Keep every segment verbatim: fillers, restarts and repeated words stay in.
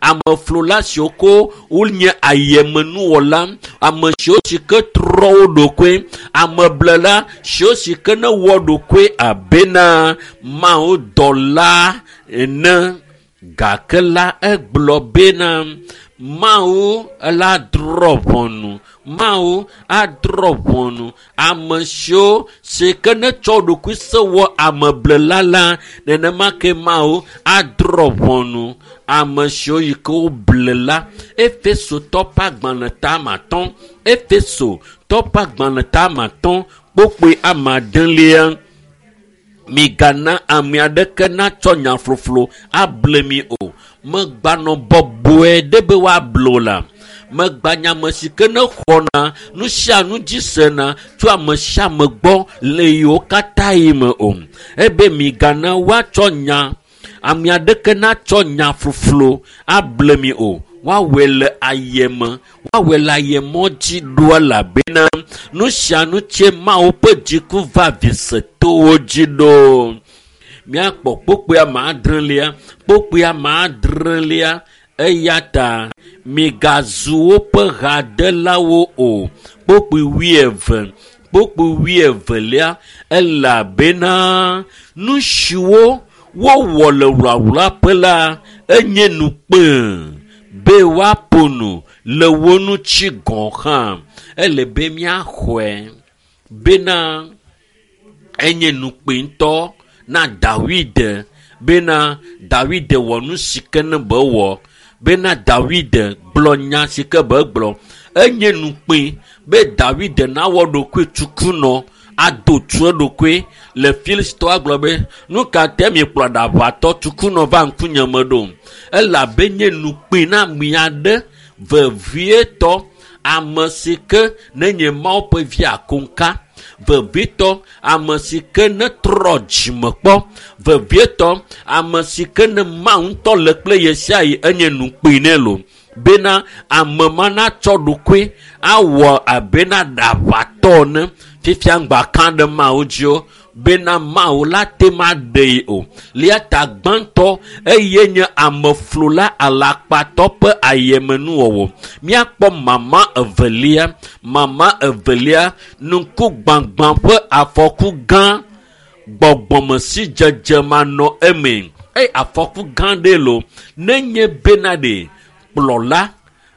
Ameflula siwo ko wonye ayemenuwɔla, ame siwo si ke trɔ wo ɖokoe, ameblela siwo si ke ne wɔ ɖokoe abena Mawu dɔla ene. Gake la egblɔ bena Mawu la drɔ̃ ʋɔnu. Mawu adrɔ̃ ʋɔnu ame siwo si ke ne tsɔ ɖokui se wɔ ameblela la, nenema ke Mawu adrɔ̃ ʋɔnu ame siwo yi ke woble la. Efesotɔ ƒe agbalẽ ta ame atɔ̃, Efesotɔ ƒe agbalẽ ta ame atɔ̃, kpokpoe ame adelia. Migana ame aɖeke natsɔ nya floflo able mi o. Megbanɔ bɔbɔe ɖe be woable o la. Megba nya ame si ke ne xɔna nu sia nu dzi sena tso ame sia ame gbɔ le yiwo katã yi me o. Ebe migana woatsɔ nya ame aɖeke natsɔ nya floflo able mi o. Woawɔe le ayeme, woawɔe le ayemɔ dzi ɖo elabena nu sia nu tse Mawu ƒe dziku va visetowo dzi ɖo. Míakpɔ kpokpoe ame adrelia, kpokpoe ame adrelia eya ta migazu woƒe hadelawo o. Kpokpoe wuieve, kpokpoe wuievelia elabena nu siwo wowɔ le wlawlaƒe la enye nukpe be woaƒo nu le wo ŋuti gɔ̃ hã. Ele be míaxɔe bena enye nukpe ŋutɔ na Dawid bena Dawid wɔ nu si ke ne be wɔ, bena Dawid gblɔ nya si ke be gblɔ. Enye nukpe be Dawid nawɔ ɖokui tsukunɔ ado tu eɖokui le Filistitɔwo agblɔ be nu ka te miekplɔ aɖaʋatɔ tsukunɔ va ŋkunye me ɖo? Elabe nye nukpe na ame aɖe vevietɔ ame si ke nenye Mawu ƒe vi akoŋka, vevietɔ ame si ke ne trɔ dzime kpɔ, vevietɔ ame si ke ne Mawu ŋutɔ le kple ye sia yi enye nukpe nɛ lo bena ame ma natsɔ ɖokui awɔ abena ɖaʋatɔ ene. Fifia ŋgba ka ɖe Mawu dzi o bena Mawu la te ma ɖee o. Lia ta gbãtɔ eye nye ameflula alakpatɔ ƒe ayemenuwɔwɔ. Míakpɔ mama evelia, mama evelia ŋkugbãgbã ƒe afɔku gã gbɔgbɔmesidzedze manɔ eme. Eye afɔku gã ɖe lo nenye bena ɖe kplɔla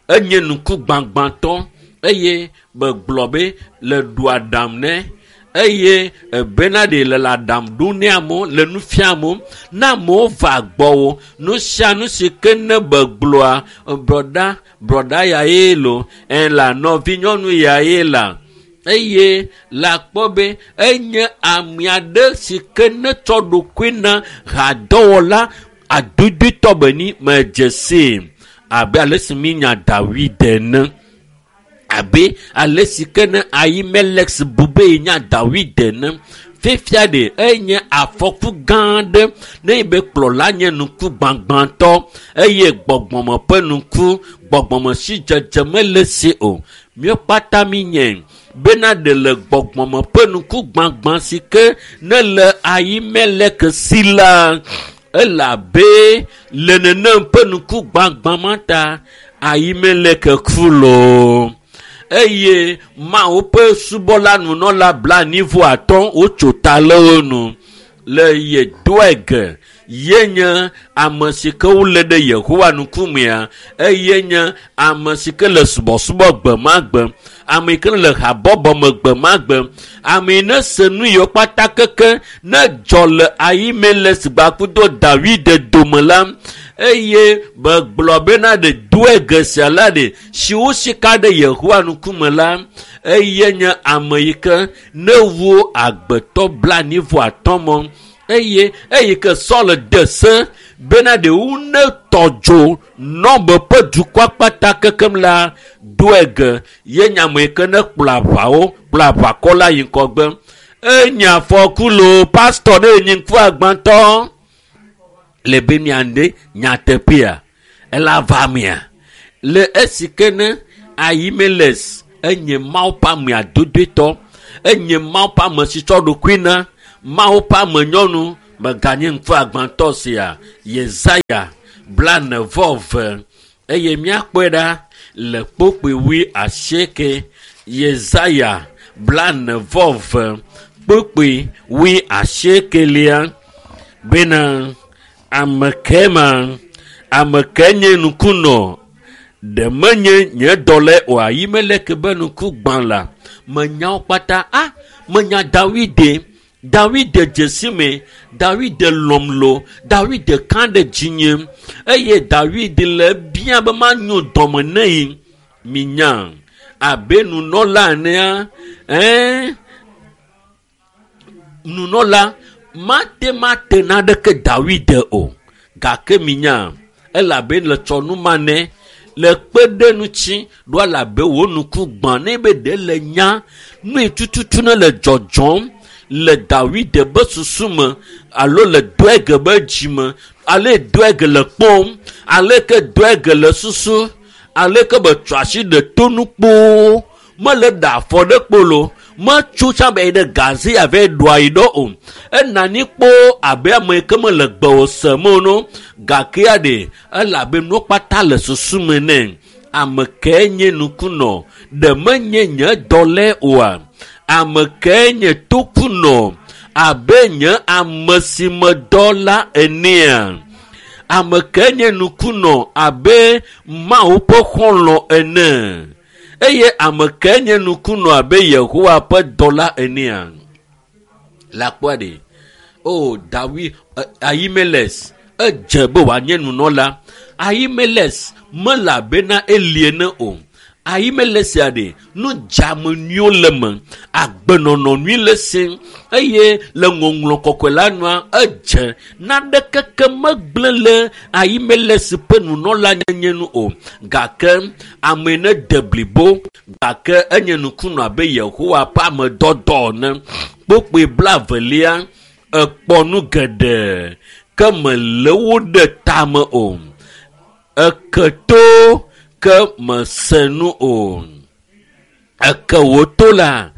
enye ŋkugbãgbãtɔ eye begblɔ be le ɖu aɖam nɛ eye ebena ɖe le aɖam ɖom ne amewo le nu fiam amewo ne amewo va gbɔwò nu sia nu si ke ne begblɔa brɔda brɔda ya ye lo ɛ la nɔvinyɔnu ya ye la eye la kpɔ be enye ame aɖe si ke ne tsɔ ɖokui na hadɔwɔla adodoetɔ be ni medze sii abe ale si mínya Dawid ene. Abe ale si ke ne Ahimelek bu be yenya Dawid ene. Fifia ɖe enye afɔku gã aɖe ne be kplɔla nye ŋkugbãgbãtɔ eye gbɔgbɔme ƒe ŋku gbɔgbɔme si dzedze mele si o. Míawo kpata mínyae bena ɖe le gbɔgbɔme ƒe ŋkugbãgbã si ke ne le Ahimelek si la elabe le nenem ƒe ŋkugbãgbã ma ta Ahimelek ku loo. Eye Mawu ƒe subɔla nunɔla blaenyi atɔ̃ wotso ta le wo nu le ye Doeg ye nye ame si ke wolé ɖe Yehowa ŋkumea eye nye ame si ke le subɔsubɔ gbe ma gbe, ame yi ke le habɔbɔ me gbe ma gbe, ame yi ne se nu yiwo kpata keke ne dzɔ le Ahimelek gbakudo Dawid dome la eye begblɔ bena ɖe Doeg sia la ɖe si wosika ɖe Yehowa ŋkume la eye nye ame yi ke ne wu agbetɔ blaenyi atɔ̃ mɔ eye eyi ke Saul de se bena ɖe wu ne tɔ dzo Nɔb ƒe dukɔa kpata kekem la Doeg ye nye ame yi ke ne kplɔ aʋawo kplɔ aʋakɔ la yi ŋgɔgbe. Enye afɔku loo pastor ne enyi ŋkuagbãtɔ le be miade nyateƒea ela va mea le esi ke ne Ahimelek enye Mawu ƒe ame adodoetɔ, enye Mawu ƒe ame si tsɔ ɖokui na Mawu ƒe ame nyɔnu meganye ŋkuagbãtɔ sia. Yesaya Blane vɔ ve eye míakpɔe ɖa le kpokpoe wui asieke. Yesaya blane vɔ ve kpokpoe wui asiekelia bena ame ke ma ame ke nye nukunɔ ɖe menye nye dɔlae oa yi mele ke be nuku gbã la menyawo kpata a menya Dawide Dawide dzesi me Dawide lɔm lo Dawide ka ɖe dzinye eye Dawide le bia be manyo dɔme ne yi minya abe nunɔla enea ɛɛ nunɔla mate mate naɖeke Dawide o gake minya elabe le tsɔ nu ma ne le kpe ɖe ŋuti ɖo elabe wo nuku gbã ne be ɖe le nya nu yi tututu ne le dzɔdzɔm le Dawide be susu me alo le Doeg be dzime ale Doeg le kpɔm ale ke Doeg le susu ale ke be tsɔ asi ɖe tonu kpoo mele ɖe afɔ ɖe kpolo metso tsã be yi ɖe gaze ave ɖoa yi ɖo o enani kpoo abe ame yi ke mele gbe o sem o no gakea ɖe elabe nuwo kpata le susu me nɛ ame ke nye nukunɔ ɖe menye nye dɔlae oa ame ke nye tokunɔ abe nye ame si me dɔ la enea ame ke nye nukunɔ abe Mawu ƒe xɔlɔ̃ ene eye ame ke nye nukunɔ abe Yehowa ƒe dɔla enea la kpɔa ɖe o Dawi Ahimelech edze be wòanye nunɔla Ahimelech mele abe na Eli ene o Ahimelech sia ɖe nu dzame nyuiwo le me agbenɔnɔ nyui le si eye le ŋɔŋlɔ kɔkɔe la nua edze naɖeke ke megblẽ le Ahimelech ƒe nunɔla nyenye nu o gake ame ne de blibo gake enye nukunɔ abe Yehowa ƒe ame dɔdɔ ene kpokpoe blavelia ekpɔ nu geɖe ke mele wo ɖe tame o eke to ke mese nu o eke wò to la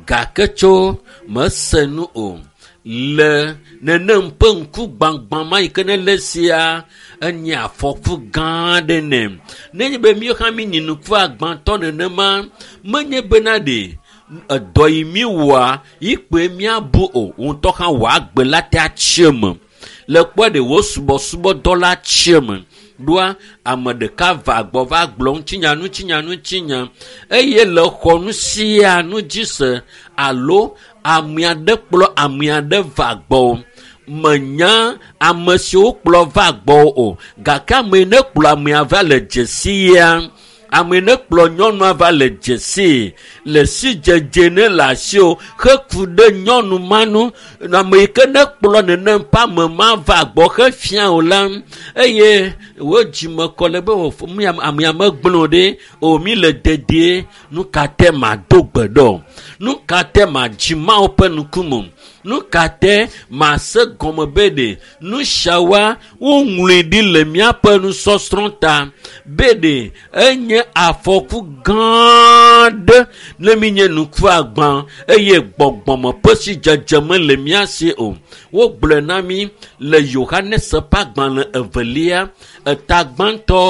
gake tso mese nu o le nenem ƒe ŋku gbagbã ma yi ke ne le sia enye afɔku gã aɖe nɛ nenye be míwo hã míenyi nuku agbãtɔ nenema menye bena ɖe edɔ yi míwɔa yi kpoe míabu o ŋutɔ hã wɔ agbe la te atsi eme le kpɔe ɖe wò subɔsubɔdɔ la tsi eme ɖoa ame ɖeka va gbɔ va gblɔ ŋutinya ŋutinya ŋutinya eye le xɔ nu sia nu dzi se alo ame aɖe kplɔ ame aɖe va gbɔ menya ame siwo kplɔ va gbɔ o gake ame ne kplɔ amea va le dzesi ya ame ne kplɔ nyɔnua va le dzesi le sidzedze ne le asi o heku ɖe nyɔnu ma nu ame yi ke ne kplɔ nenem ƒe ame ma va gbɔ hefia o la eye wo dzime kɔ le be amea megblẽ o ɖe o mi le dedie nu ka te mado gbe ɖɔ nu ka te madzi Mawu ƒe ŋkume nu ka te mase gɔme be ɖe nu siawoa woŋlɔe ɖi le míaƒe nusɔsrɔ̃ ta be ɖe enye afɔku gã aɖe ne míenye nuku agbã eye gbɔgbɔme ƒe sidzedze mele mía si o wogblɔe na mí le Yohanes ƒe agbalẽ evelia eta gbãtɔ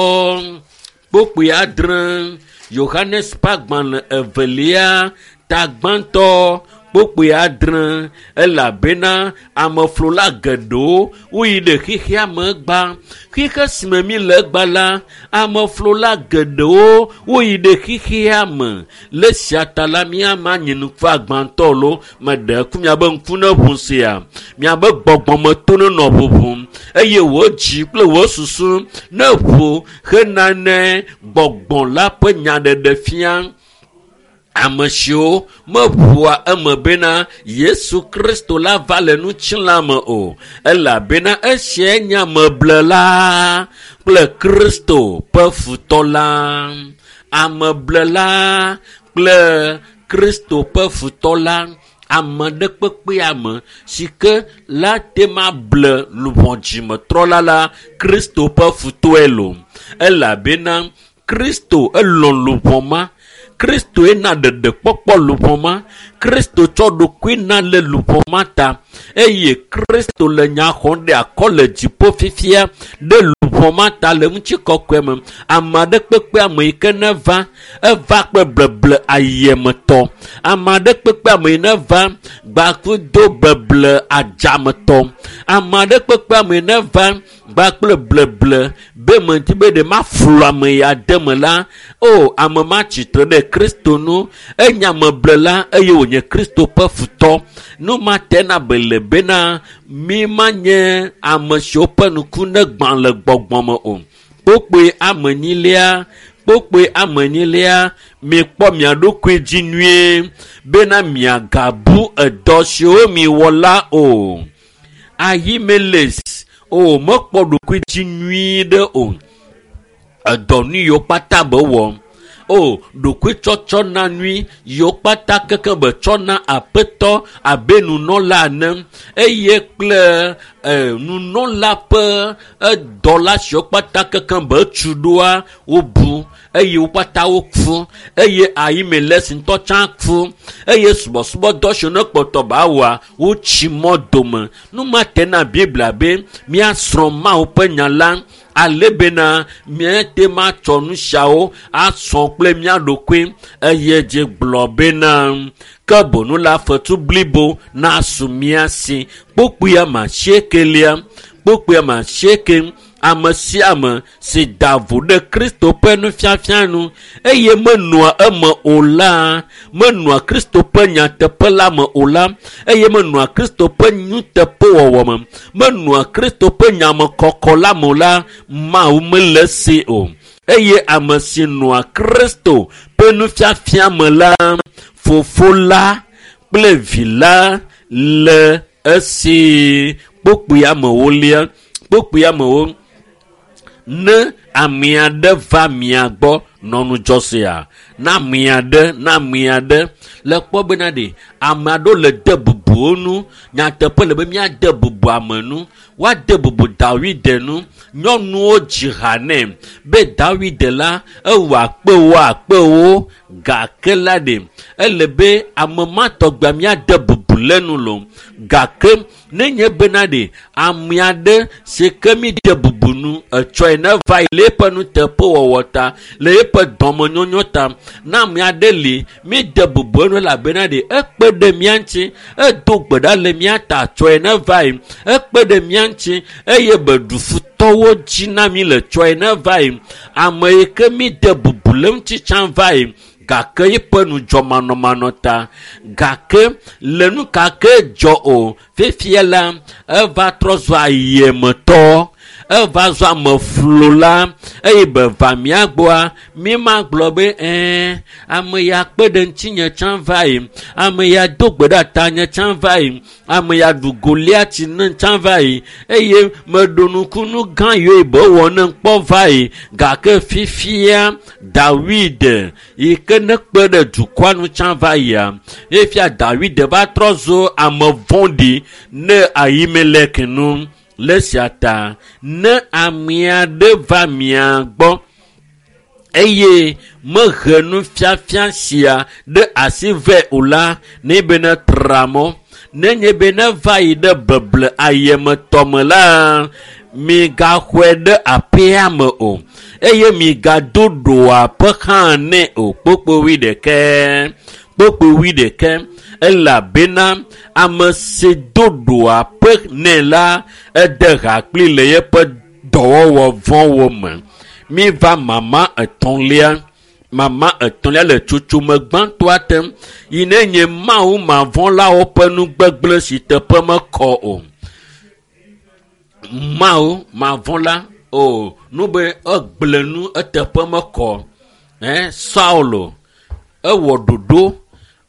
kpokpoe adre Yohanes ƒe agbalẽ evelia ta gbãtɔ kpokpoe adre elabena ameflola geɖewo woyi ɖe xexea me gba xixe si me mi le gba la ameflola geɖewo woyi ɖe xexea me le sia ta la míama nye nuku agbãtɔ lo meɖe ku miabe ŋku ne ʋu sia miabe gbɔgbɔmeto ne nɔ ʋuʋum eye wò dzi kple wò susu ne ʋu hena ne gbɔgbɔ la ƒe nyaɖeɖe fia ame siwo meʋua eme bena Yesu Kristo la va le ŋutilã me o elabena esiae nye ameblela kple Kristo ƒe futɔ la ameblela kple Kristo ƒe futɔ la ame ɖe kpekpe ame si ke la te ma ble luʋɔ dzimetrɔla la Kristo ƒe futɔe lo elabena Kristo elɔ̃ luʋɔ ma Kristo ena ɖeɖekpɔkpɔ luʋɔ ma Kristo tsɔ ɖokui na le luʋɔ ma ta eye Kristo le nya xɔm ɖe akɔ le dziƒo fifia ɖe luʋɔ ma ta le ŋutikɔkɔe me. Ame aɖe kpekpe ame yi ke ne va, eva kple bleble ayemetɔ. Ame aɖe kpekpe ame yi ne va gbakudo beble adzametɔ. Ame aɖe kpekpe ame yi ne va gbakple bleble be meti be ɖe maflu ame ya de me la, o ame ma tsitre ɖe Kristo nu, enye ameblela eye wònye Kristo ƒe futɔ. Nu ma tena be le bena mi manye ame siwo ƒe ŋku ne gbã le gbɔgbɔ me o. Kpokpoe ame enyilia, kpokpoe ame enyilia, mikpɔ mia ɖokui dzi nyuie bena miagabu edɔ siwo miwɔ la o. Ahimelech o mekpɔ ɖokui dzi nyuie ɖe o. Edɔ nu yiwo kpata be wɔ. O ɖokuitsɔtsɔ na nui yiwo kpata keke be tsɔ na aƒetɔ abe nunɔla ene eye kple e, nunɔla ƒe edɔla siwo kpata keke be tu ɖoa wobu eye wo kpata woku eye Ahimelech ŋutɔ tsã ku eye subɔsubɔdɔ siwo ne kpɔtɔ ba wɔa wotsi mɔ dome. Nu ma tena Biblia be míasrɔ̃ Mawu ƒe nya la ale bena míate matsɔ nu siawo asɔ kple mía ɖokui eye dzi gblɔ bena ke bonu la fetu blibo nasu mía si. Kpokpoe ame asiekelia, kpokpoe ame asieke, ame sia ame si da vo ɖe Kristo ƒe nufiafia nu eye menɔa eme o la, menɔa Kristo ƒe nyateƒe la me o la, eye menɔa Kristo ƒe nuteƒewɔwɔ me, menɔa Kristo ƒe nyamekɔkɔ la me o la, Mawu mele esi o. Eye ame si nɔa Kristo ƒe nufiafia me la, Fofo la kple Vi la le esi. Kpokpoe amewolia, kpokpoe amewo, ne ame aɖe va mia gbɔ nɔ ŋudzɔ sia, na ame aɖe, na ame aɖe le kpɔ bena ɖe ame aɖewo le de bubu wo nu. Nyateƒe le be míade bubu ame nu. Woade bubu Dawide nu. Nyɔnuwo dzi ha nɛ be Dawide la ewɔ akpewo akpewo gake la ɖe ele be ame ma tɔgbea míade bubu le nu lo. Gake nenye bena ɖe ame aɖe si ke mi de bubu nu etsɔe ne va yi le eƒe nuteƒewɔwɔ ta, le eƒe dɔmenyonyo ta, na ame aɖe li mi de bubu enu elabena ɖe ekpe ɖe mía ŋuti, edo gbe ɖa le mía ta tsɔe ne va yi, ekpe ɖe mía ŋuti eye be ɖu futɔwo dzi na mi le tsɔe ne va yi. Ame yi ke mi de bubu le ŋuti tsã va yi gake eƒe nudzɔmanɔmanɔ ta, gake le nu ka ke dzɔ o, fifia la eva trɔ zu ayemetɔ, eva zu ameflola eye be va mía gbɔa, mi ma gblɔ be ɛɛ ame ya kpe ɖe ŋutinye tsã va yi, ame ya do gbe ɖe tanye tsã va yi, ame ya ɖu Goliati ne tsã va yi eye meɖo nukunu gã yiwo be wɔ ne kpɔ va yi. Gake fifia Dawide yi ke ne kpe ɖe dukɔa nu tsã va yia, efia Dawide va trɔ zu ame vɔ̃ɖi ne Ahimelech nu. Le esia ta ne ame aɖe va mia gbɔ eye mehe nufiafia sia ɖe asi vɛ o la, ne be ne tra mɔ, nenye be ne va yi ɖe beble ayemetɔ me la, migaxɔe ɖe aƒea me o eye migado ɖoaƒe hã nɛ o. Kpokpo wuiɖekɛ, kpokpo wuiɖekɛ, elabena ame si do ɖoaƒe nɛ la, ede ha kpli le eƒe dɔwɔwɔ vɔ̃wo me. Mi va mama etɔ̃lia, mama etɔ̃lia le tsotsome gbãtɔa te yi ne nye Mawu mavɔ̃lawo ƒe nugbegblẽ si teƒe mekɔ o. Mawu mavɔ̃la o, nu be egblẽ nu eteƒe mekɔ. Ɛ Saulo ewɔ ɖoɖo,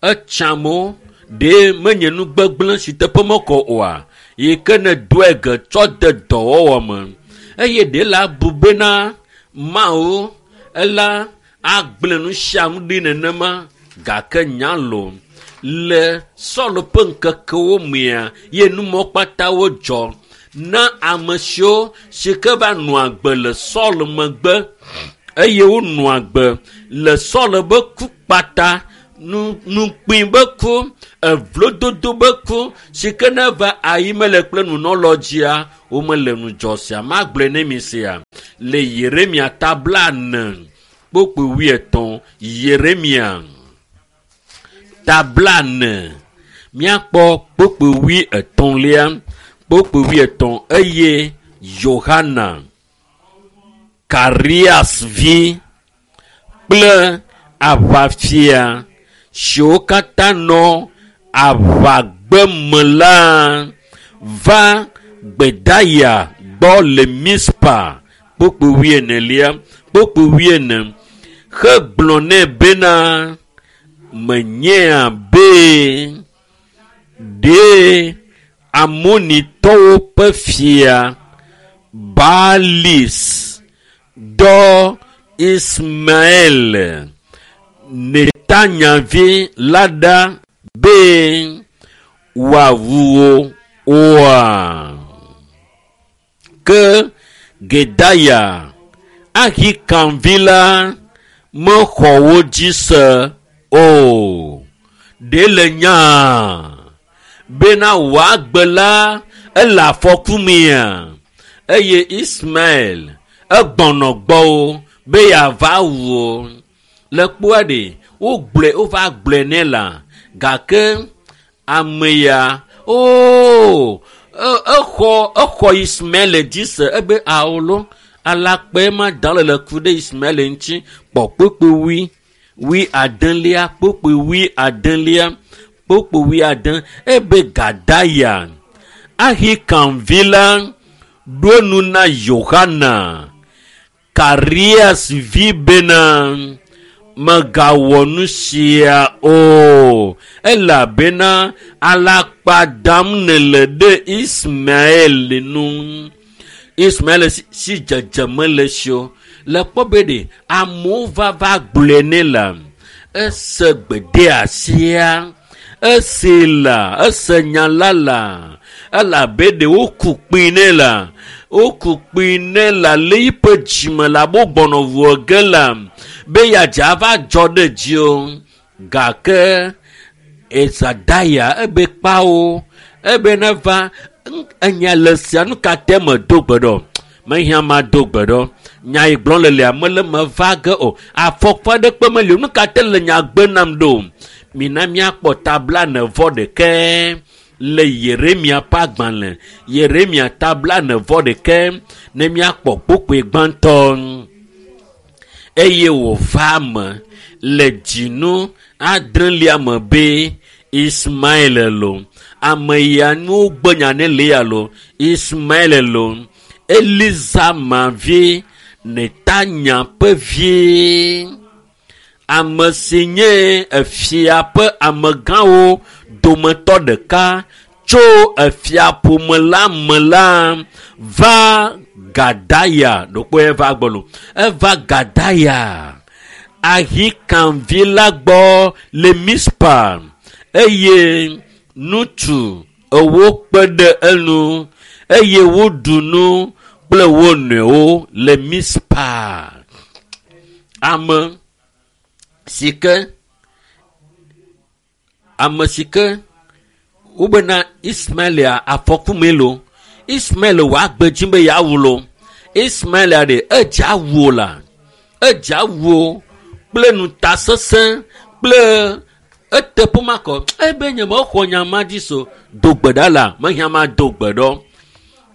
etsa amewo ɖe menye nugbegblẽ si teƒe mekɔ oa, yi ke ne doe ge tsɔ de dɔwɔwɔ me. Eye ɖe la bu bena Mawu ela agblẽ nu sia nu ɖi nenema, gake nya lo le Saul ƒe ŋkekewo mea ye numɔ kpatawo dzɔ na ame siwo si ke va nɔ agbe le Saul megbe eye wonɔ agbe le Saul be ku kpata Nukpui be ku, evlododo be ku, si ke ne va ayi mele kple nunɔlɔ dzia, womele ŋudzɔ sia. Magblɔe ne mi sia le Yeremia ta blaene kpukpui wuietɔ̃. Yeremia ta blaene míakpɔ kpukpui wuietɔ̃lia, kpukpui wuietɔ̃ eye Yohana Karias vi kple aʋafia siwo katã nɔ aʋagbe me la va Gbedaya gbɔ le Mispa kpukpui wuienelia kpukpui wuiene hegblɔ nɛ bena menyea be ɖe Amonitɔwo ƒe fia Baalis dɔ Ismael Netanya vi la ɖa be wòawu wo oa? Ke Gedaya Ahikam vi la mexɔ wo dzi se o. Ɖe le nyaa bena wòagbe la ele afɔku mea? Eye Ismael egbɔnɔ gbɔwo be yeava wu wo. Le kpoa ɖe wogblɔe wova gblɔe nɛ la gake ame ya oo exɔ exɔ Ismael dzi se ebe awo alakpae ma da le le ku ɖe Ismael ŋuti kpɔ kpukpui wui wui adelia kpukpui wui adelia kpukpui wui ade ebe Gadaya Ahikam vi la ɖo nu na Yohana Karias vi bena megawɔ nu sia o elabena alakpa dam nèle ɖe Ismael nu. Ismael si dzedze mele si o. Le kpɔ be ɖe amewo va va gblɔe nɛ la ese gbedeasia ese la ese nya la la elabe ɖe woku kpĩ nɛ la woku kpĩ nɛ la le yiƒe dzime la abe wogbɔnɔ ʋua ge la be yeadze ava dzɔ ɖe dzi o. Gake Ezadaya ebe kpawo ebe neva enya le sia nu ka te me do gbe ɖo mehiã ma do gbe ɖo nya yi gblɔm le lia mele me va ge o afɔkpa ɖekpe meli o nu ka te le nya gbe nam ɖo mina míakpɔ ta blaene vɔ ɖekɛ le Yeremia ƒe agbalẽ Yeremia ta blaene vɔ ɖekɛ ne míakpɔ kpukpui gbãtɔ eye wòva eme le dzinu adrelia me be Ismael lo ame ya nu gbe nya ne le ya lo Ismael lo Elizama vi Netanya ƒe vi ame si nye efia ƒe amegãwo dometɔ ɖeka tso efiaƒome la me la va Gadaya ɖokpo eva gbɔ lo eva Gadaya Ahikam vi la gbɔ le Mispa eye ŋutsu ewo kpe ɖe enu eye woɖu nu kple wo nɔewo le Mispa. Ame si ke ame si ke wobena Ismael afɔku me lo Ismael wòagbe dzi be yeawu lo Ismael ɖe edze awu o la edze awu o kple ŋutasesẽ kple eteƒe makɔ ebe nye mexɔ nya ma dzi so do gbe ɖa la mehiã ma do gbe ɖɔ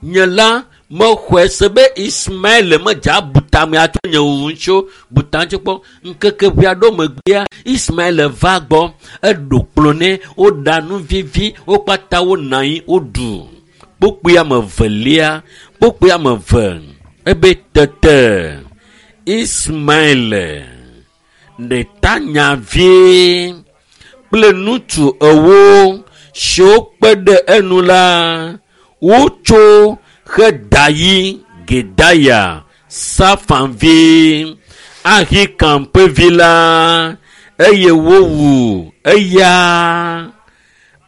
nye la mexɔe se be Ismael medze abu tame atso nye wuwu ŋuti o buta ŋuti kpɔ ŋkeke ʋe aɖewo megbea Ismael va gbɔ eɖo kplɔ nɛ woɖa nu vivi wo kpata wonɔ anyi woɖu kpukpui ame evelia kpukpui ame eve ebe tete Ismael Netanya vi kple ŋutsu ewo siwo kpe ɖe enu la wotso hedayi Gedaya Safan vi Ahikam ƒe vi la eye wowu eya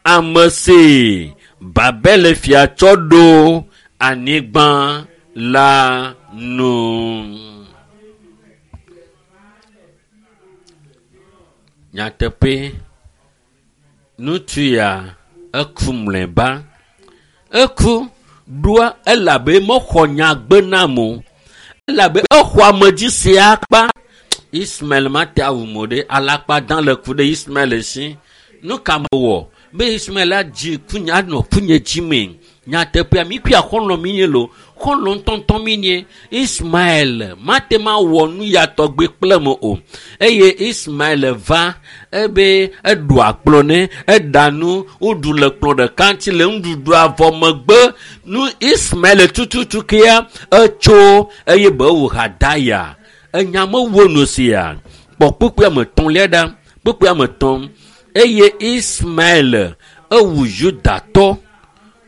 ame si Babel fia tsɔ ɖo anyigba la nu. Nyateƒe ŋutsu ya eku mlɔeba. Eku ɖoa elabe mexɔ nyagbe nam o. Elabe exɔ ame dzi se akpa. Ismael mate awu mo ɖe alakpa dã le ku ɖe Ismael si. Nu ka mewɔ be Ismael adzi kunye anɔ kunye dzime. Nyateƒea mi kuya xɔlɔ̃ mi nye lo. Xɔlɔ̃ ŋutɔŋutɔ mi nye. Ismael mate ma wɔ nu ya tɔgbe kple me o. Eye Ismael va ebe eɖu akplɔ ne eɖa nu woɖu le kplɔ ɖeka ŋuti le nuɖuɖua vɔ megbe nu Ismael tututu kea etso eye be wò Hadaya. Enya mewo nu sia. Kpɔ kpukpui ame etɔ̃lia ɖa. Kpukpui ame etɔ̃. Eye Ismael ewu Yudatɔ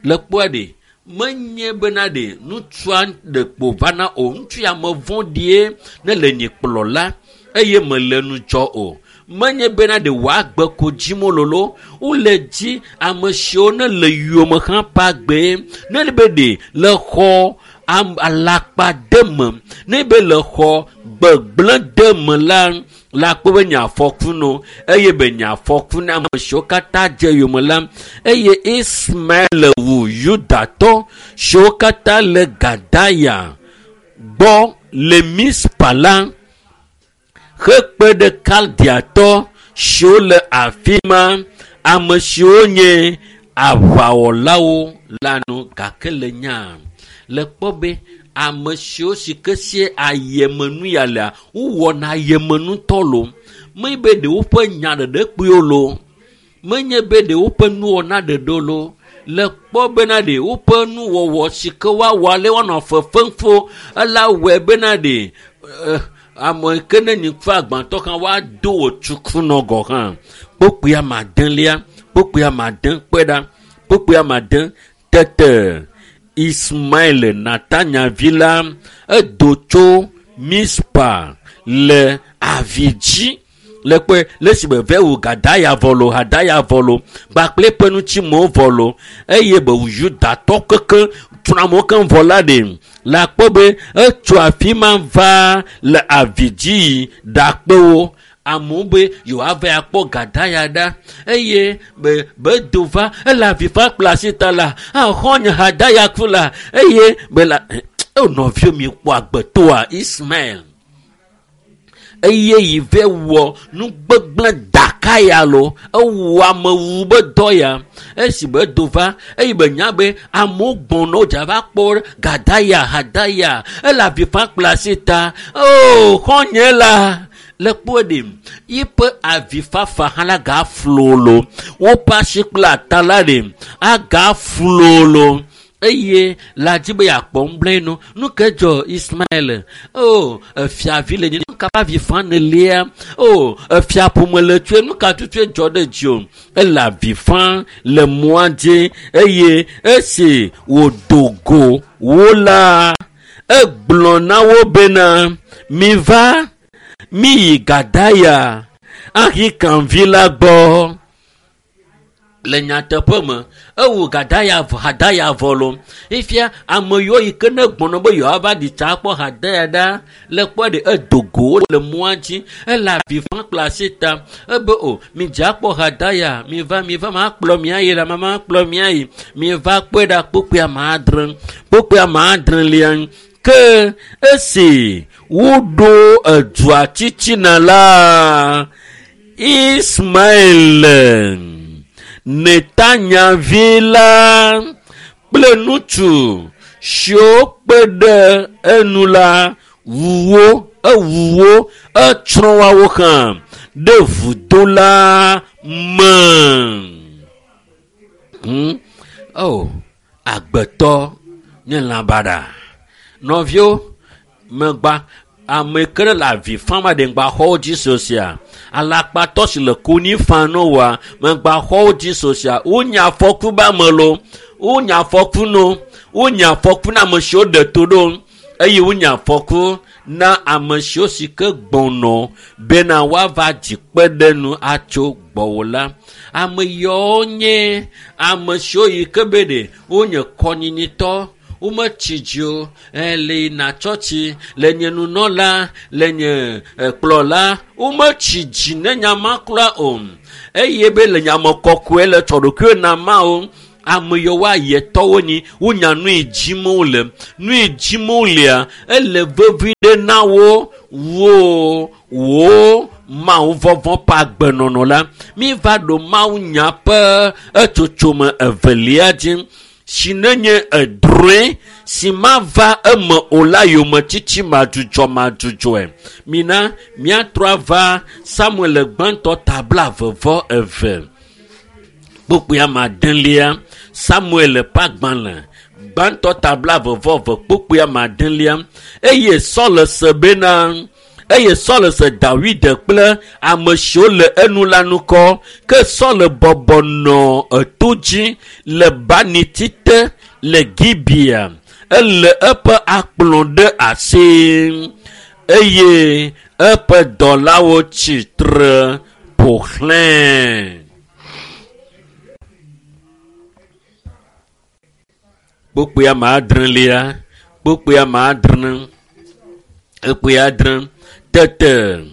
le kpɔa ɖe menye bena ɖe ŋutsua ɖe kpo vana o. Ŋutsu ya me vɔ̃ɖie ne le nye kplɔla eye mele ŋudzɔ o. Menye bena ɖe wòagbe ko dzim lolo. Wole dzi ame siwo ne le yome hã ƒe agbe. Ne be ɖe le xɔ alakpa de me. Ne be le xɔ gbegblẽ de me la, la kpɔ be nye afɔku no eye be nye afɔku na ame siwo katã dze yome la. Eye Ismael wu Yudatɔ siwo katã le Gadaya gbɔ le Mispa la hekpe ɖe Kaldeatɔ siwo le afi ma, ame siwo nye aʋawɔlawo la nu. Gake le nya le kpɔ be ame siwo si ke sie ayemenu ya lea, wowɔna ayemenutɔ lo. Menye be ɖe woƒe nya ɖeɖe kpuiwo lo. Menye be ɖe woƒe nuwɔna ɖeɖe lo. Le kpɔ bena ɖe woƒe nuwɔwɔ si ke woawɔ ale woanɔ fefem fo ela wɔe bena ɖe ame ke ne nyi ƒe agbãtɔ hã woado wò tsukunɔ gɔ hã. Kpukpui ame adelia, kpukpui ame ade kpɔe ɖa. Kpukpui ame ade tete Ismael Natanya vi la edo tso Mispa le avi dzi le kpɔe le si be ve wu Gadaya vɔ lo, Hadaya vɔ lo, kpakple eƒe ŋutimewo vɔ lo eye be wu Yudatɔ keke tsrɔ̃amewo keŋ vɔ la ɖe la kpɔ be etso afi ma va le avi dzi yi ɖakpe wo. Amewo be yewoava akpɔ Gadaya ɖa eye be be do va ele avi fa kple asi ta la axɔ nye Hadaya ku la eye be la eo nɔviwo mi kpɔ agbetoa Ismael eye yi ve wɔ nu gbegblẽ daka ya lo ewɔ amewu be dɔ ya esi be do va eye be nya be amewo gbɔna wodza va kpɔ Gadaya Hadaya ele avi fa kple asi ta o xɔnye la le kpɔe ɖe yiƒe avifafa hã la gaflo lo woƒe asi kple ata la ɖe agaflo lo eye la dzi be yeakpɔ ŋugblẽ nu. Nu ke dzɔ Ismael? O efiavi le nye nu ka ƒe avi fam nelia? O efiaƒome le tsoe nu ka tutue dzɔ ɖe dziwò? Ele avi fam le mɔa dzi eye esi wòdo go wo la egblɔ na wo bena miva miyi Gadaya Ahikam vi la gbɔ. Le nyateƒe me ewu Gadaya Hadaya vɔ lo. Ifia ame yiwo yi ke ne gbɔna be yewoava ɖi tsa akpɔ Hadaya ɖa le kpɔ ɖe edo go le mɔa dzi ele avi fam kple asi ta ebe o midze akpɔ Hadaya miva miva makplɔ mi ayi la makplɔ mi ayi miva kpɔe ɖa kpukpui ame adre kpukpui ame adrelia ke esi woɖo edua titina la Ismael Netanya vi la kple ŋutsu siwo kpe ɖe enu la wu wo ewu wo etsrɔ̃ woawo hã ɖe vudo la me. Hmm? Oh, agbetɔ nye lã baɖa. Nɔviwo megba ame ke le avi fam aɖe ŋgba xɔwo dzi sosia. Alakpatɔ si le konyi fam no wa megba xɔwo dzi sosia. Wonya afɔku be ame lo, wonya afɔku no, wonya afɔku na ame siwo ɖe to ɖo eye wonya afɔku na ame siwo si ke gbɔnɔ bena woava dzi kpe ɖe nu atso gbɔwò la. Ame yawo nye ame siwo yi ke be ɖe wonye kɔnyinyitɔ, Wometsi dzi o. Le yina tsɔtsi, le nye nunɔla, le nye kplɔla, wometsi dzi ne nya ma kura o. Eye be le nyame kɔkɔe le tsɔ ɖokuiwo na Mawu. Ame yiwo ayetɔwo nyi, wonya nu yi dzim wole. Nu yi dzim wolea, ele vevi ɖe na wo wo wo Mawu vɔvɔ̃ ƒe agbenɔnɔ la. Mi va ɖo Mawu nya ƒe etsotsome evelia dzi. Si nenye edrɔ̃e si mava eme o la yometiti madzudzɔ madzudzɔe. Mina míatrɔ ava Samuel gbãtɔ ta blaeve vɔ eve. Kpukpui ame adelia, Samuel ƒe agbalẽ gbãtɔ ta blaeve vɔ eve kpukpui ame adelia. Eye Saul se bena eye Saul se Dawid kple ame siwo le enu la ŋkɔ. Ke Saul bɔbɔ nɔ eto dzi le baniti te le Gibea. Ele eƒe akplɔ ɖe asi eye eƒe dɔlawo tsi tre ƒo xlãe. Kpukpui ame adrelia, kpukpui ame adre, kpukpui adre. Tete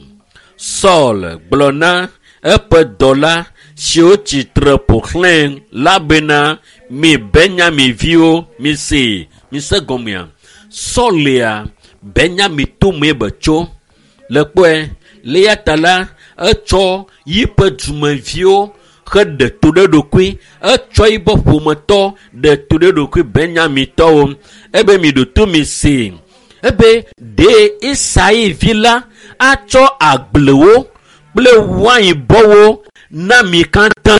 Saul gblɔ na eƒe dɔla siwo tsi tre ƒo xlãe la bena, mi Benyamin viwo, mise, mise gɔmea. Saul ya Benyamin tomee be tso. Le kpɔe, le eya ta la, etsɔ yiƒe dumeviwo heɖe to ɖe ɖokui. Etsɔ yiƒe ƒometɔ ɖe to ɖe ɖokui Benyamintɔwo. Ebe mi ɖo to mi se. Ebe ɖe Isai vi la atsɔ agblewo kple wainbɔwo na mi katã.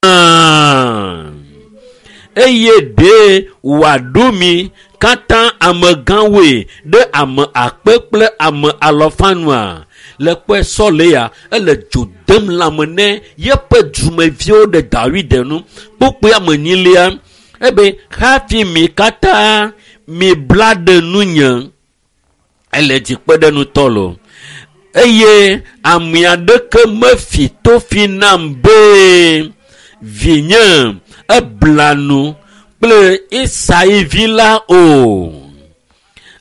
Eye ɖe wòaɖo mi katã amegãwoe ɖe ame akpe kple ame alɔfa nua? Le kpɔe Saul ya, ele dzo dem lãme ne yeƒe dumeviwo ɖe Dawid nu. Kpukpui ame enyilia, ebe hafi mi katã mi bla ɖe nunye. Ele dzi kpe ɖe nutɔ lo. Eye ame aɖeke mefi tofi nam be vinye ebla nu kple Isai vi la o.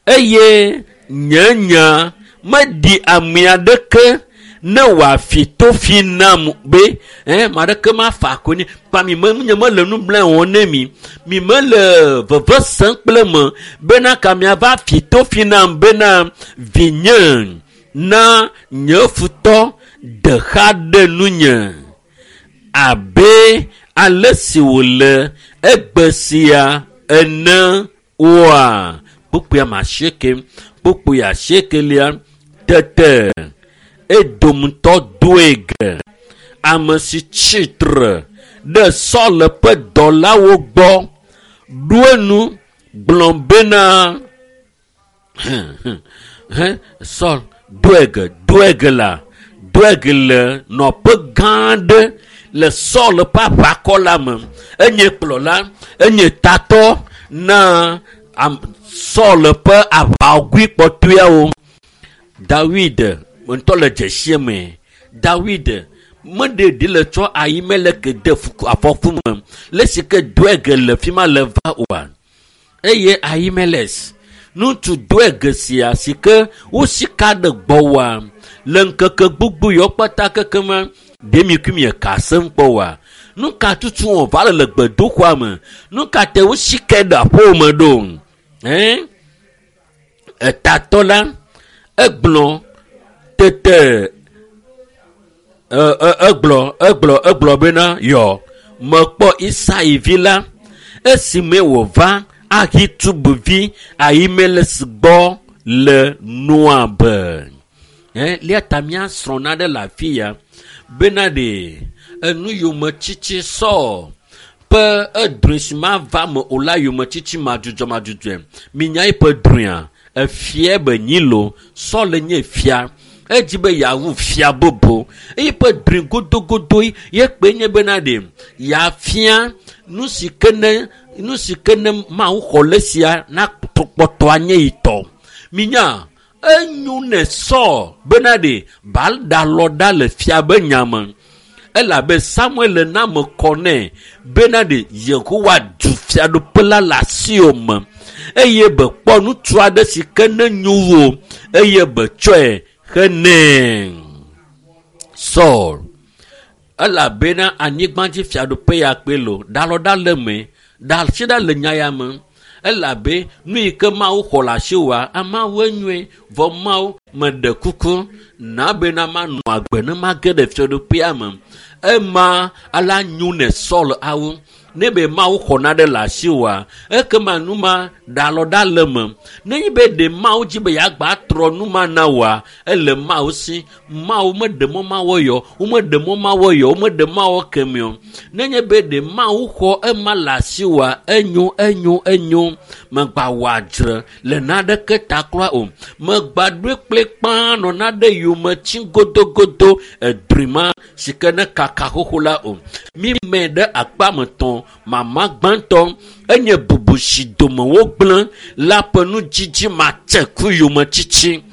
Eye nye nya meɖi ame aɖeke ne wòafi tofi nam be, eh, ame aɖeke mafa akɔ nɛ. Kpa mi me, nye mele nu bla wɔm ne mi. Mi mele veve sem kple me bena ka miava fi tofi nam bena vinye na nye futɔ de xa ɖe nunye abe ale si wòle egbe sia ene oa. Kpukpui ame asieke, kpukpui asiekelia. Tete Edomtɔ Doeg, ame si tsi tre ɖe Saul ƒe dɔlawo gbɔ, ɖo enu gblɔ bena, Saul, Doeg, Doeg la, Doeg le nɔƒe gã aɖe le Saul ƒe aʋakɔ la me. Enye kplɔla, enye tatɔ na Saul ƒe aʋawɔgui kpɔtɔeawo. Dawid ŋutɔ le dzesie me. Dawid meɖe ɖi le tsɔ Ahimelek de afɔku me le si ke Doeg le fi ma le va oa. Eye Ahimelek, ŋutsu Doeg sia si ke wosika ɖe gbɔwòa le ŋkeke gbogbo yawo kpata kekema, ɖe mi kui mieka asem kpɔ oa? Nu ka tutu wòva le le gbedoxɔa me? Nu ka te wosikae ɖe aƒewò me ɖo? Ɛn? Etatɔ la egblɔ tete, e, e, egblɔ, egblɔ, egblɔ bena, yɔ, mekpɔ Isai vi la esime wòva Ahitub vi Ahimelek gbɔ le Noab. Ɛ, lia ta míasrɔ̃ naɖe le afi ya bena ɖe enu yometiti Saul ƒe edrɔ̃e si mava me o la yometiti madzudzɔ madzudzɔe. Minya eƒe drɔ̃ea, efia be nyi lo, Saul nye fia. Edzi be yeawu fia bubu. Eye ƒe drɔ̃e godogodoe ye kpe nye bena ɖe yeafia nu si ke ne, nu si ke ne Mawu xɔ le sia na kpɔtɔ anye yi tɔ. Minya, enyo ne Saul bena ɖe Baal ɖalɔ ɖa le fia be nya me. Elabe Samuel na me kɔ nɛ bena ɖe Yehowa du fiaɖuƒe la le asiwò me. eye be kpɔ ŋutsu aɖe si ke ne nyo wo eye be tsɔe henɛ. Saul elabena anyigbadzi fiaɖuƒe ya kpe lo ɖalɔ ɖa le me ɖa si ɖa le nya ya me elabe nu yi ke Mawu xɔ le asiwòa amawoe nyuie vɔ Mawu meɖe kuku na bena manɔ agbe ne mage ɖe fiaɖuƒea me ema ala nyo ne Saul awu ne be Mawu xɔ naɖe le asiwòa ekema nu ma ɖalɔ ɖa le me nenye be ɖe Mawu dzi be yeagba trɔ nu ma na wòa ele Mawu si Mawu meɖe mɔ mawɔ yɔ womeɖe mɔ mawɔ yɔ womeɖe mawɔ kemi o nenye be ɖe Mawu xɔ ema le asiwòa enyo enyo enyo megba wɔ adzre le naɖeke ta kura o megba ɖoe kplikpaa nɔ naɖe yome tsi godogodo edri ma si ke ne kaka xoxo la o mi me ɖe akpa me tɔn mama gbãtɔ enye bubu si dome wogblẽ la ƒe nudzidzi matse ku yometsitsi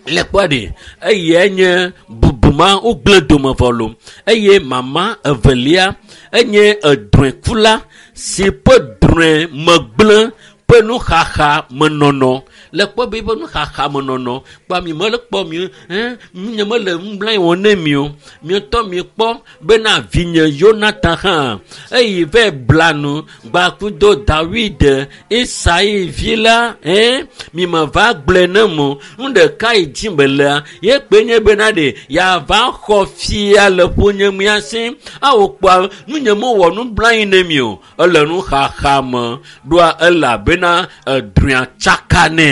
le kpɔ ɖi eye nye bubu ma wogblẽ dome vɔ lo eye mama evelia enye edrɔ̃ekula si ƒe drɔ̃e megblẽ ƒe nuxaxa menɔnɔ le kpɔ be eƒe nuxaxa menɔnɔ kpɔ mi mele kpɔ mi ɛn nye mele nublanui wɔm ne mi o mietɔ mi kpɔ bena vinye Yonatan hã eyi vɛ bla nu gbakudo Dawid Isai vi la ɛn mi me va gblɔe ne mo nu ɖeka yi dzi me lea ye kpe nye bena ɖe yava xɔ fia le ƒonye mia si awo kpɔa nu nye mewɔ nublanui ne mi o ele nuxaxa me ɖoa elabena edrɔ̃a tsaka nɛ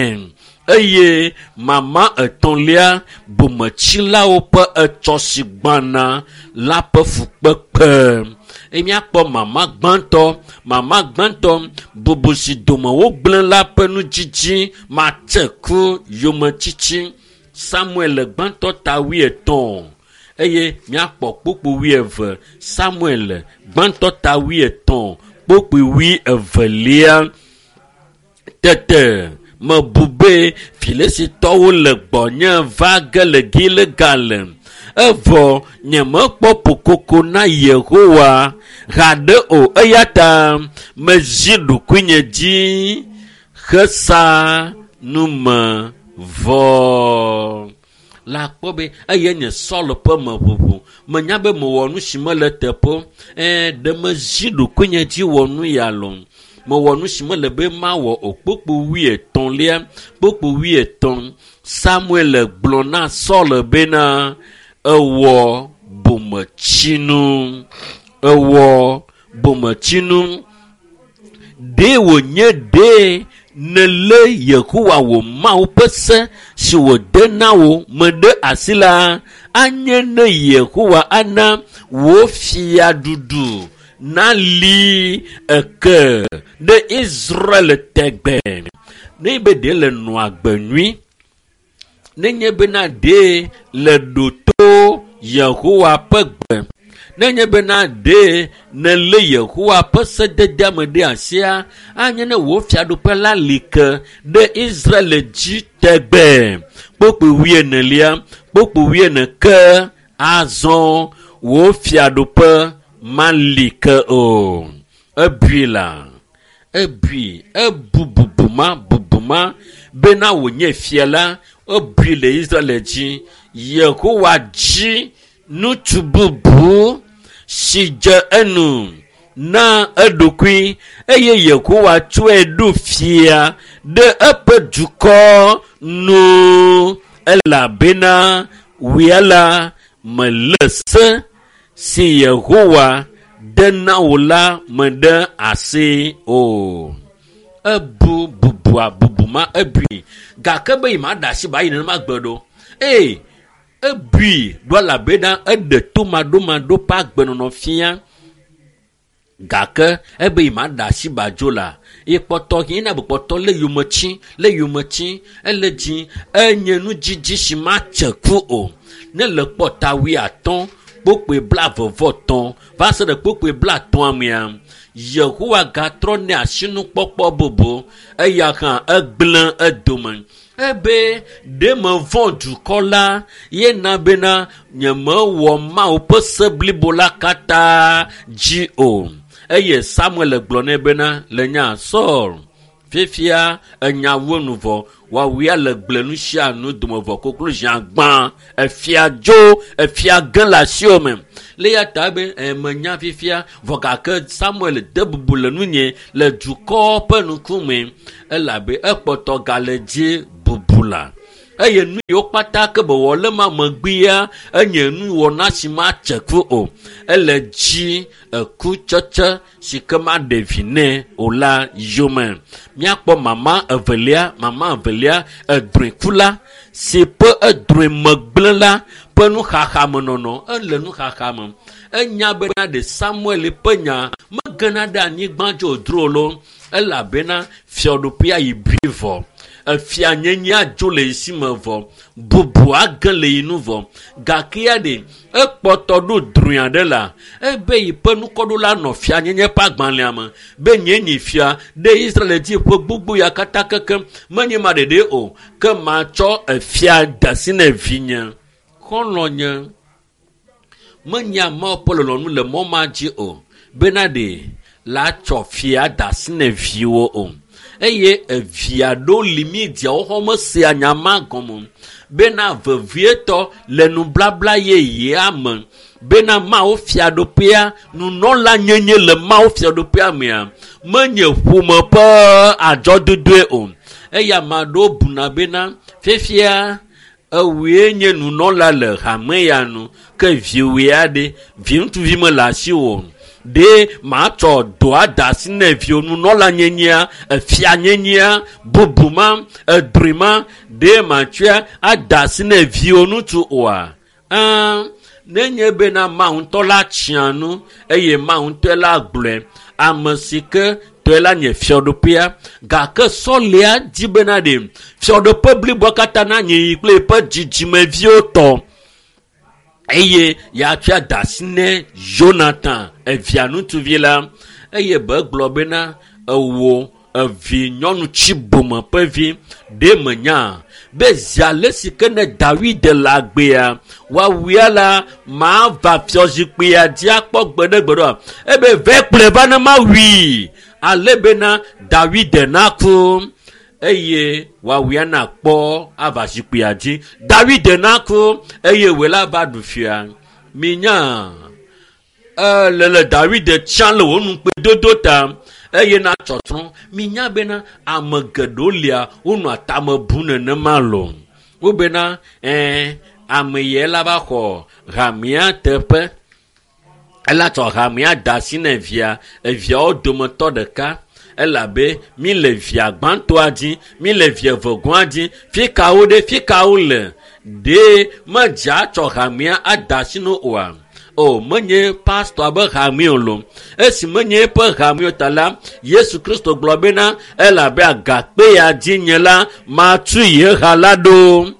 eye mama etɔ̃lia bometsilawo ƒe etsɔ si gbãna la ƒe fukpekpe eye míakpɔ mama gbãtɔ mama gbãtɔ bubu si dome wogblẽ la ƒe nudzidzi matse ku yometsitsi Samuel gbãtɔ ta wuietɔ̃ eye míakpɔ kpukpui wuieve Samuel gbãtɔ ta wuietɔ̃ kpukpui wuievelia tete mebu be Filistitɔwo le gbɔnye va ge le Gilgal evɔ nyemekpɔ ƒokoko na Yehowa haɖe o eya ta mezi ɖokuinye dzi hesa nume vɔ. La kpɔ be eye nye Saul ƒe meʋuʋu menya be mewɔ nu si mele teƒe ɛɛ ɖe mezi ɖokuinye dzi wɔ nu ya lo mewɔ nu si mele be mawɔ o kpukpui wuietɔ̃lia kpukpui wuietɔ̃ Samuel gblɔ na Saul bena ewɔ bometsinu ewɔ bometsinu ɖe wònye ɖe nelé Yehowa wò Mawu ƒe se si wòde na wò me ɖe asi la anye ne Yehowa ana wò fiaɖuɖu nali eke ɖe Israel tegbe ne be ɖe le nɔ agbe nyui nenye bena ɖe le ɖoto Yehowa ƒe gbe nenye bena ɖe nelé Yehowa ƒe sededea me ɖe asia anye ne wò fiaɖuƒe la li ke ɖe Israel dzi tegbe kpukpui wuienelia kpukpui wuiene ke azɔ wò fiaɖuƒe mali ke o ebui la ebui ebu bubu ma bubu ma bena wònye fia la ebui le Israel dzi Yehowa dzi ŋutsu bubu si dze enu na eɖokui eye Yehowa tsɔe ɖo fia ɖe eƒe dukɔ nu elabena wia la melé se si Yehowa de na wò la me ɖe asi o. Ebu bubua bubu ma ebui gake be yi ma ɖe asi ba yi nenema gbe ɖo eye ebui ɖo elabena eɖe tomaɖomaɖo ƒe agbenɔnɔ fia gake ebe yi ma ɖe asi ba dzo la ye kpɔtɔ yina be kpɔtɔ le yometsi le yometsi ele dzi enye nudzidzi si matse ku o ne le kpɔ ta wuiatɔ̃ kpukpui blaeve vɔ va se ɖe kpukpui blaetɔ̃a mea Yehowa gatrɔ nɛ asinukpɔkpɔ bubu eya hã egblẽ edome ebe ɖe mevɔ̃ dukɔ la ye na bena nyemewɔ Mawu ƒe se blibo la katã dzi o eye Samuel gblɔ nɛ bena le nya Saul Fifia enyawo nu vɔ woawoe le gble nu sia nu dome vɔ koklo zia gbã efia dzo efia ge le asiwò me. Le ya ta be emenya fifia vɔ gake Samuel de bubu le nunye le dukɔ ƒe ŋkume elabe ekpɔtɔ gale dzi bubu la. Eye nu yiwo kpata ke be wɔ le ma megbea enye nuwɔna si matse ku o. Ele dzi ekutsetse si ke maɖe vi nɛ o la yome. Míakpɔ mama evelia, mama evelia edrɔ̃ekula si ƒe edrɔ̃e megblẽ la ƒe nuxaxamenɔnɔ. Ele nuxaxa me. Enya bena ɖe Samuel ƒe nya megena ɖe anyigba dzi wòdro o loo elabena fiaɖuƒea yi bui vɔ. Efia nyenyea dzo le yi si me vɔ. Bubu age le yi nu vɔ. Gake ya ɖe ekpɔtɔ ɖo drɔ̃e aɖe la ebe yi ƒe nukɔɖola nɔ fia nyenye ƒe agbalẽa me be nye nyi fia ɖe Israel dzi ƒe gbogbo ya katã kekem menye ma ɖeɖe o ke matsɔ efia da asi ne vinye. Xɔlɔ̃nye menya Mawu ƒe lɔlɔ̃nu le mɔ ma dzi o bena ɖe la tsɔ fia da asi ne viwo o. Eye evia ɖewo li mi diawo xɔ mesea nya ma gɔme bena vevietɔ le nublabla yeyea me bena Mawu fiaɖuƒea nunɔla nyenye le Mawu fiaɖuƒea mea menye ƒome ƒe adzɔdodoe o. Eye ame aɖewo buna bena fifia ewoe nye nunɔla le hame ya nu ke viwoe aɖe vi ŋutsuvi mele asiwò o. Ɖe matsɔ dɔa da asi ne viwo nunɔla nyenyea efia nyenyea bubu ma edrɔ̃e ma ɖe matsɔe ada asi ne viwo ŋutsu oa? Ɛɛ nenye bena Mawu ŋutɔ la tsia nu eye Mawu ŋutɔe la gblɔe ame si ke tɔe la nye fiaɖuƒea gake sɔlea di bena ɖe fiaɖuƒe bliboa katã nanyi yi kple eƒe dzidzimeviwo tɔ. Eye yeatsɔe ada asi ne Jonathan evia ŋutsuvi la eye be gblɔ bena ewò evi nyɔnu tsi bome ƒe vi ɖe menya be zi ale si ke ne Dawid le agbea woawuia la mava fiazikpuia dzi akpɔ gbeɖegbeɖe oa. Ebe vɛ kplɔe va ne mawui ale bena Dawid naku eye woawuia nakpɔ ava zikpuia dzi. Dawid naku eye wòe la va ɖu fia. Minya ele le Dawid tsã le wò nukpedodo ta eye na tsɔtsrɔ̃. Minya bena ame geɖewo lia wonɔa tame bum nenema loo. Wobena ɛɛ ame yɛ la va xɔ hamea teƒe. Ela tsɔ hamea da asi ne via eviawo dometɔ ɖeka elabe mi le via gbãtɔa dzi mi le via evegɔa dzi fi kawo ɖe fi kawo le ɖe medze atsɔ hamea ada asi no oa? O menye pastor be hame o lo. Esi menye eƒe hame o ta la Yesu Kristo gblɔ bena elabe agakpe ya dzi nye la matu ye ha la ɖo.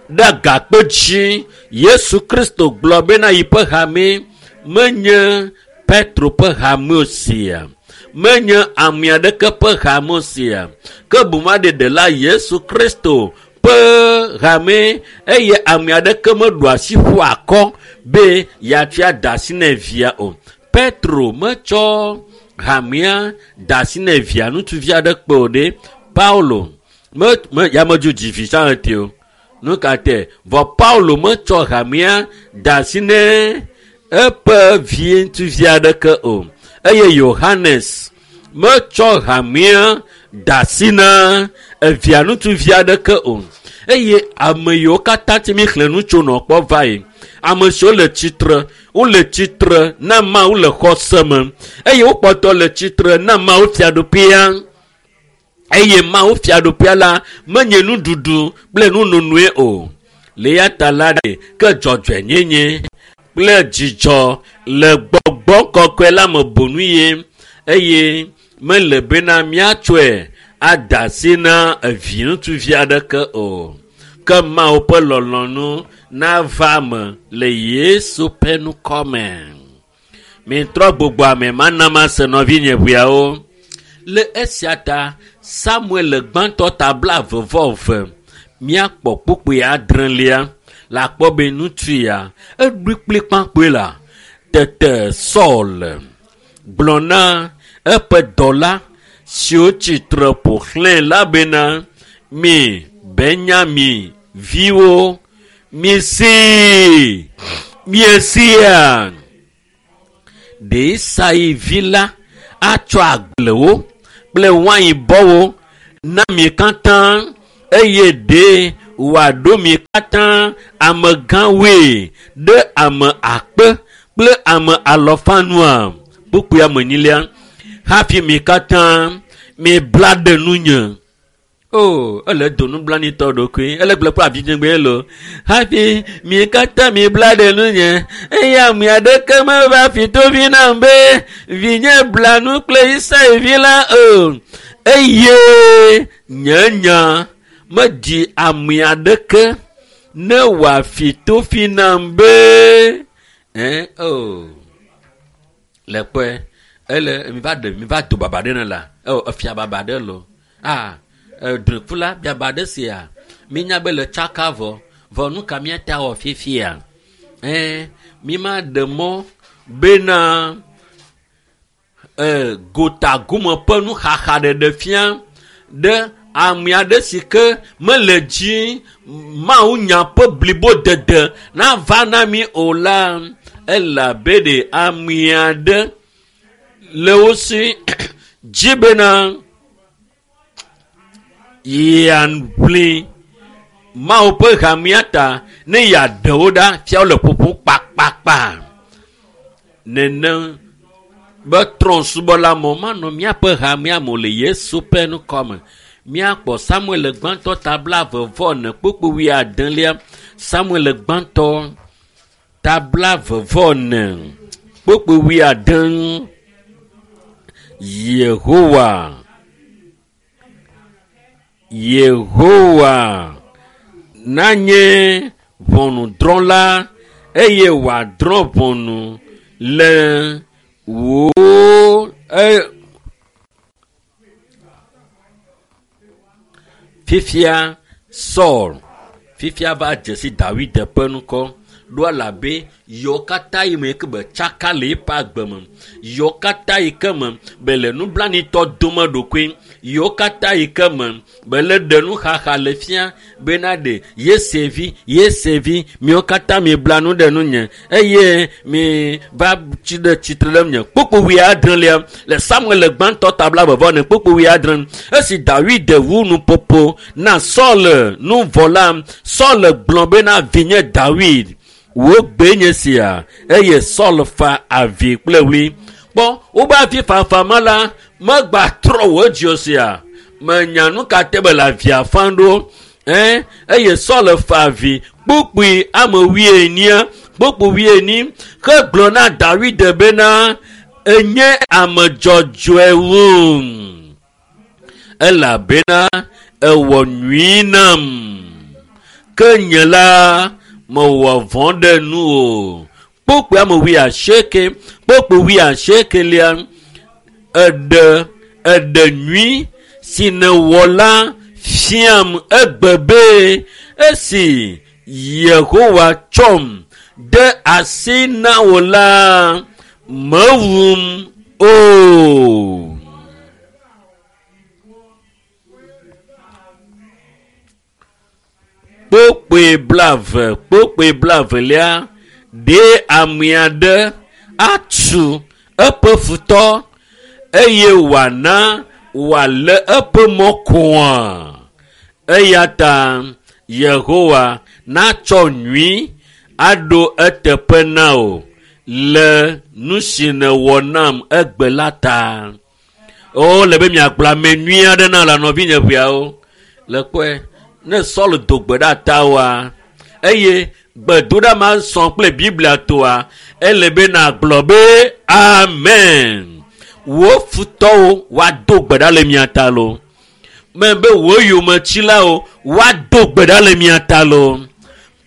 Ɖe agakpe dzi Yesu Kristo gblɔ bena yiƒe hame menye Petro ƒe hame o sia. Menye ame aɖeke ƒe hame o sia. Ke boŋ aɖeɖe la Yesu Kristo ƒe hame eye ame aɖeke meɖo asi ƒu akɔ be yeatsɔe ada asi ne via o. Petro metsɔ hamea da asi ne via ŋutsuvi aɖe kpe o ɖe. Paulo me, me, ya medzo dzi vi tsã ete o. Nu ka tɛ? Vɔ Paulo metsɔ hamea da asi ne eƒe vi ŋutsuvi aɖeke o. Eye Yohanes metsɔ hamea da asi na evia ŋutsuvi aɖeke o. Eye ame yiwo katã ti mi xlẽ nu tso nɔ kpɔ va yi. Ame siwo le tsitre, wole tsitre na Mawu le xɔse me. Eye wokpɔtɔ le tsitre na Mawu fiaɖuƒea. Eye Mawu fiaɖuƒea la menye nuɖuɖu kple nunonoe o. Le eya ta la ɖe ke dzɔdzɔenyenye kple dzidzɔ le gbɔgbɔ kɔkɔe la me bonu ye eye mele bena míatsɔe ada asi na evi ŋutsuvi aɖeke o. Ke Mawu ƒe lɔlɔ̃nu nava me le Yesu ƒe ŋkɔ me. Mitrɔ gbogbo ame mana mase nɔvinye ʋeawo. Le esia ta Samuel gbãtɔ ta blaeve vɔ eve míakpɔ kpukpui adrelia le akpɔ be ŋutsu ya eɖoe kplikpakpoe la tete Saul gblɔ na eƒe dɔla siwo tsitre ƒo xlãe la bena mi Benyamin viwo misee miesia ɖe Isai vi la atsɔ agblewo kple wainbɔwo na mi katã eye ɖe wòaɖo mi katã amegãwoe ɖe ame akpe kple ame alɔfa nua kpukpui ame enyilia hafi mi katã mibla ɖe nunye o ele do nublanitɔ ɖokui ele gblɔ kple avidzegbe lo hafi mi katã mi bla ɖe nunye eye ame aɖeke meva fi tovi nam be vinye bla nu kple Isai vi la o eye nye nya medi ame aɖeke ne wòafi tofi nam be ɛ o le kpɔe ele mi va ɖe mi va do baba ɖe ne la ɔ efia baba ɖe lo ah drikula biaba ɖe sia minya be le tsaka vɔ vɔ nu ka míata wɔ fifia ɛɛ mi ma ɖe mɔ bena ɛɛ gotagome ƒe nuxaxa ɖeɖe fia ɖe ame aɖe si ke mele dzi Mawu nya ƒe blibodede nava na mi o la elabe ɖe ame aɖe le wo si dzi bena yeaʋli Mawu ƒe hamea ta ne yeaɖe wo ɖa fiawo le ƒoƒom kpakpakpa nene be trɔ̃subɔla mɔ manɔ míaƒe hamea me o le Yesu ƒe ŋkɔme míakpɔ Samuel gbãtɔ ta blaeve vɔ ene kpukpui wuiadelia Samuel gbãtɔ ta blaeve vɔ ene kpukpui wuiade Yehowa Yehowa nanye ʋɔnudrɔ̃la eye wòadrɔ̃ ʋɔnu le wò e fifia Saul fifia va dze si Dawid ƒe ŋkɔ ɖo elabe yewo katã yi me ke be tsaka le eƒe agbe me yewo katã yi ke me be le nublanitɔ dome ɖokui yewo katã yi ke me be le ɖe nuxaxa le fia bena ɖe Yese vi Yese vi miwo katã mibla nu ɖe nunye eye mi va tsi ɖe tsitre ɖe nye kpukpui wuiadrelia le Samuel gbãtɔ ta blaeve vɔ ene kpukpui wuiadre esi Dawid wu nuƒoƒo na Saul nu vɔ la Saul gblɔ bena vinye Dawid wò gbe nye sia eye Saul fa avi kple ɣli kpɔ wobe avi fafa ma la megba trɔ wò dzi sia menya nu ka te be le avia fam ɖo ɛ eye Saul fa avi kpukpui ame wuienyi kpukpui wuienyi hegblɔ na Dawid bena enye ame dzɔdzɔe wum elabena ewɔ nyui nam ke nye la mewɔ vɔ̃ ɖe nu o kpukpui ame wuiasieke kpukpui wuiasiekelia eɖe eɖe nyui si nèwɔ la fiam egbe be esi Yehowa tsɔm de asi na wò la mewum o. Kpukpui blaeve kpukpui blaevelia ɖe ame aɖe atu eƒe futɔ eye wòana wòalé eƒe mɔ koa eya ta Yehowa natsɔ nyui aɖo eteƒe na wò le nu si nèwɔ nam egbe la ta. O le be miagblɔ ame nyui aɖe na le nɔvinye ʋeawo le kpɔe ne Saul do gbe ɖa tawoa eye gbedoɖa ma sɔ kple Biblia toa ele be nàgblɔ be amen. Wò futɔwo woado gbe ɖa le mia ta lo me be wò yometsilawo woado gbe ɖa le mia ta lo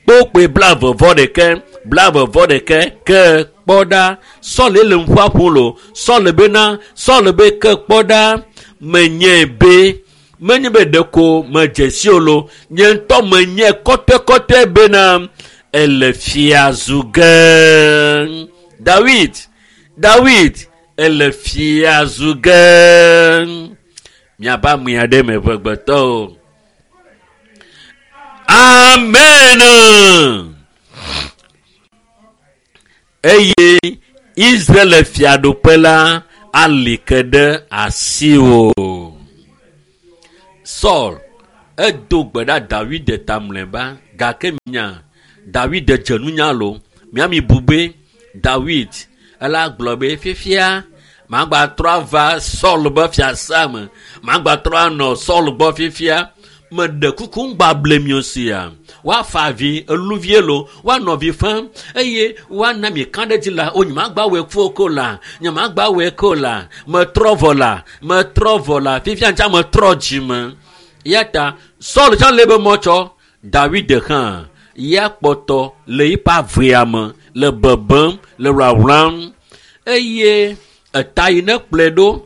kpokpoe blaeve vɔ ɖeke blaeve vɔ ɖeke ke kpɔ ɖa Saul le nuƒoa ƒom lo Saul bena Saul be ke kpɔ ɖa menye be menye be ɖeko medze si o lo nye ŋutɔ menye kɔtɔekɔtɔe bena ele fia zu ge Dawid Dawid ele fia zu ge Miaƒe ame aɖe me ʋegbetɔwo. Amen. Eye Israel fiaɖuƒe la ali ke ɖe asiwò. Saul edo gbe ɖa Dawid ta mlɔeba gake nya Dawid dze nunya lo. Miami bu be Dawid ela gblɔ be fifia magba trɔ ava Saul be fiasa me, magba trɔ anɔ Saul gbɔ fifia. Meɖe kuku ŋgba ble mi o sia. Woafa avi eluvie lo, woanɔ avi fam eye woana mi ka ɖe dzi la, o nyemagba wɔe ku ko la, nyemagba wɔe ko la, metrɔ vɔ la, metrɔ vɔ la, fifia ŋtsa metrɔ dzime. Ya ta Saul tsã le be mɔtsɔ, Dawid hã ya kpɔtɔ le eƒe avea me le bebem le wlawlam eye eta yi ne kplɔe ɖo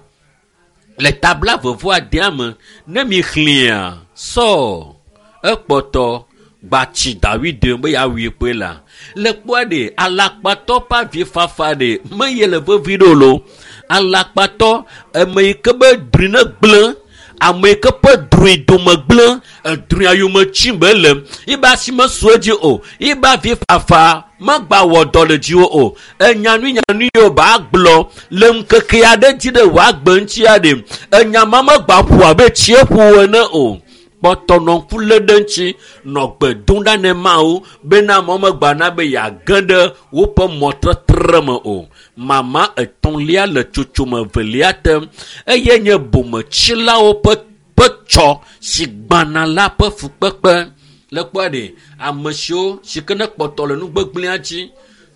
le tabla vevɔ adea me ne mi xlẽa Saul ekpɔtɔ gbatsi Dawid be yeawui kpoe la le kpɔa ɖe alakpatɔ ƒe avifafa ɖe meye le vevi ɖo lo. Alakpatɔ ame yi ke be drui ne gblẽ, ame yi ke ƒe drui dome gblẽ, edrui yome tsim be le yibe asi mesu edzi o, yibe avifafa megba wɔ dɔ le dziwò o. Enya nui nyanui yiwo ba gblɔ le ŋkeke aɖe dzi ɖe wòagbe ŋuti aɖe, enya ma megba ƒo abe tsie ƒo ene o. Kpɔtɔ nɔ ŋku lé ɖe ŋuti, nɔ gbe dom ɖa ne Mawu bena amewo megba na be yeage ɖe woƒe mɔtetre me o. Mama etɔ̃lia le tsotsome evelia te eye nye bometsilawo ƒe ƒe tsɔ si gbãna la ƒe fukpekpe. Le kpɔa ɖe ame siwo si ke ne kpɔtɔ le nugbegblẽa dzi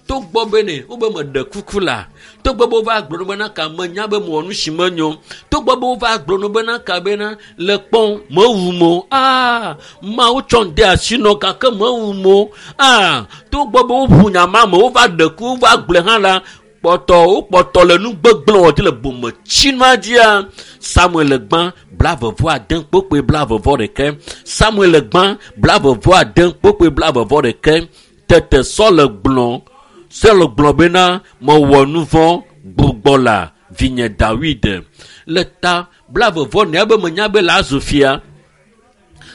togbɔ be ne wobe meɖe kuku la, togbɔ be wova gblɔ bena ka menya be mewɔ nu si menyo, togbɔ be wova gblɔ bena ka bena le kpɔm mewu mo, aa Mawu tsɔ de asi nɔ gake mewu mo, aa togbɔ be woʋu nya ma me wova ɖe ku wova gblɔe hã la, kpɔtɔ wokpɔtɔ le nugbegblẽ wɔ dzi le bometsinua dzia. Samuel gbã blavevɔ ade kpokpoe blavevɔ ɖeke. Samuel gbã blavevɔ ade kpokpoe blavevɔ ɖeke. Tete Saul gblɔ Saul gblɔ bena mewɔ nu vɔ̃ gbugbɔ la vinye Dawid. Le ta blavevɔ nea be menya be la zu fia.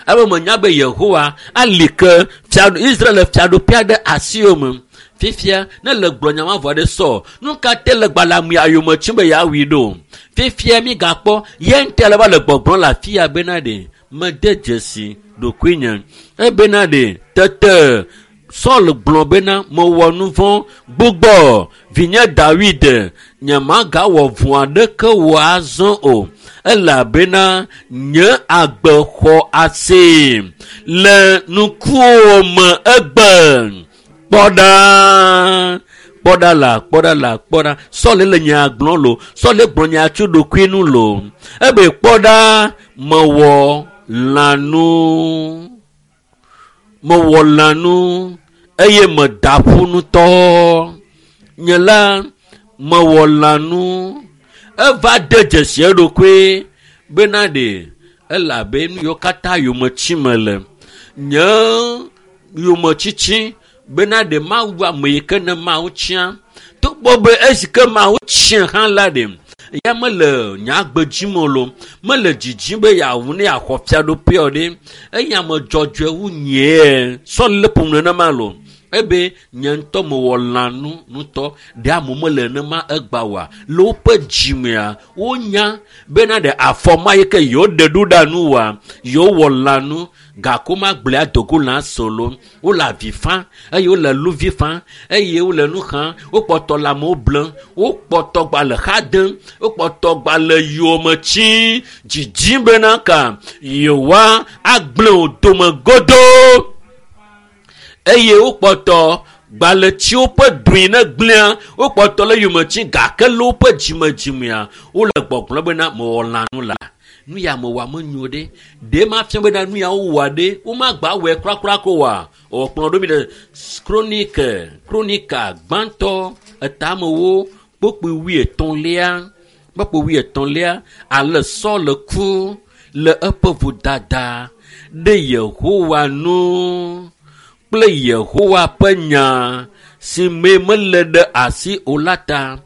Ebe menya be Yehowa ali ke fia Israel fiaɖuƒea ɖe asiwò me. Fifia ne le gblɔ nya ma vɔ ɖe Saul, nu ka te le gbalẽ ayome tsim be yeawui ɖo? Fifia mi gakpɔ ye ŋutɔ le va le gbɔgblɔm le afi ya bena ɖe mede dzesi ɖokuinye. Ebena ɖe tete Saul gblɔ bena mewɔ nu vɔ̃ gbugbɔ vinye Dawid, nyemagawɔ vɔ̃ aɖeke wò azɔ o, elabena nye agbe xɔ asi le ŋkuwò me egbe. Kpɔ ɖa, kpɔ ɖa la, kpɔ ɖa la, kpɔ ɖa. Saul le nya gblɔm lo, Saul gblɔ nya tso ɖokui nu lo. Ebe kpɔ ɖa, mewɔ lãnu, mewɔ lãnu eye meda ƒu ŋutɔ. Nye la mewɔ lãnu. Eva de dzesi eɖokui bena ɖe elabe nu yiwo katã yometsi me le. Nye yometsitsi bena ɖe Mawu ame yi ke ne Mawu tsia. Togbɔ be esi ke Mawu tsia hã la ɖe, ya mele nyagbe dzim o lo, mele dzidzim be yeawu ne yeaxɔ fiaɖuƒea o ɖe. Eye ame dzɔdzɔe wu nyee. Saul le ƒom nenema lo. Ebe nye ŋutɔ mewɔ lãnu ŋutɔ. Ɖe amewo mele nenema egba oa? Le woƒe dzimea, wonya bena ɖe afɔ ma yi ke yewoɖe ɖo ɖa nu oa, yewowɔ lãnu. Gake womagblɔe adogo lã solo. Wole avi fam eye wole luvi fam eye wole nu xam. Wokpɔtɔ le amewo blem, wokpɔtɔ gba le xa dem, wokpɔtɔ gba le yome tsim dzidzim bena ka yewoa agblẽ wo dome godoo. Eye wokpɔtɔ gba le tsi woƒe drui ne gblẽa, wokpɔtɔ le yome tsim gake le woƒe dzimedzimea, wole gbɔgblɔm bena mewɔ lãnu la. Nu ya mewɔa menyo ɖe. Ɖe mafia bena nu ya wowɔa ɖe, womagba wɔe kurakura ko oa? Wòkplɔ ɖo mi ɖe Kronike, Kronika gbãtɔ etamewo kpokpoe wuietɔ̃lia, kpokpoe wuietɔ̃lia, ale Saul ku le eƒe vodada ɖe Yehowa nu kple Yehowa ƒe nya si me mele ɖe asi o la ta.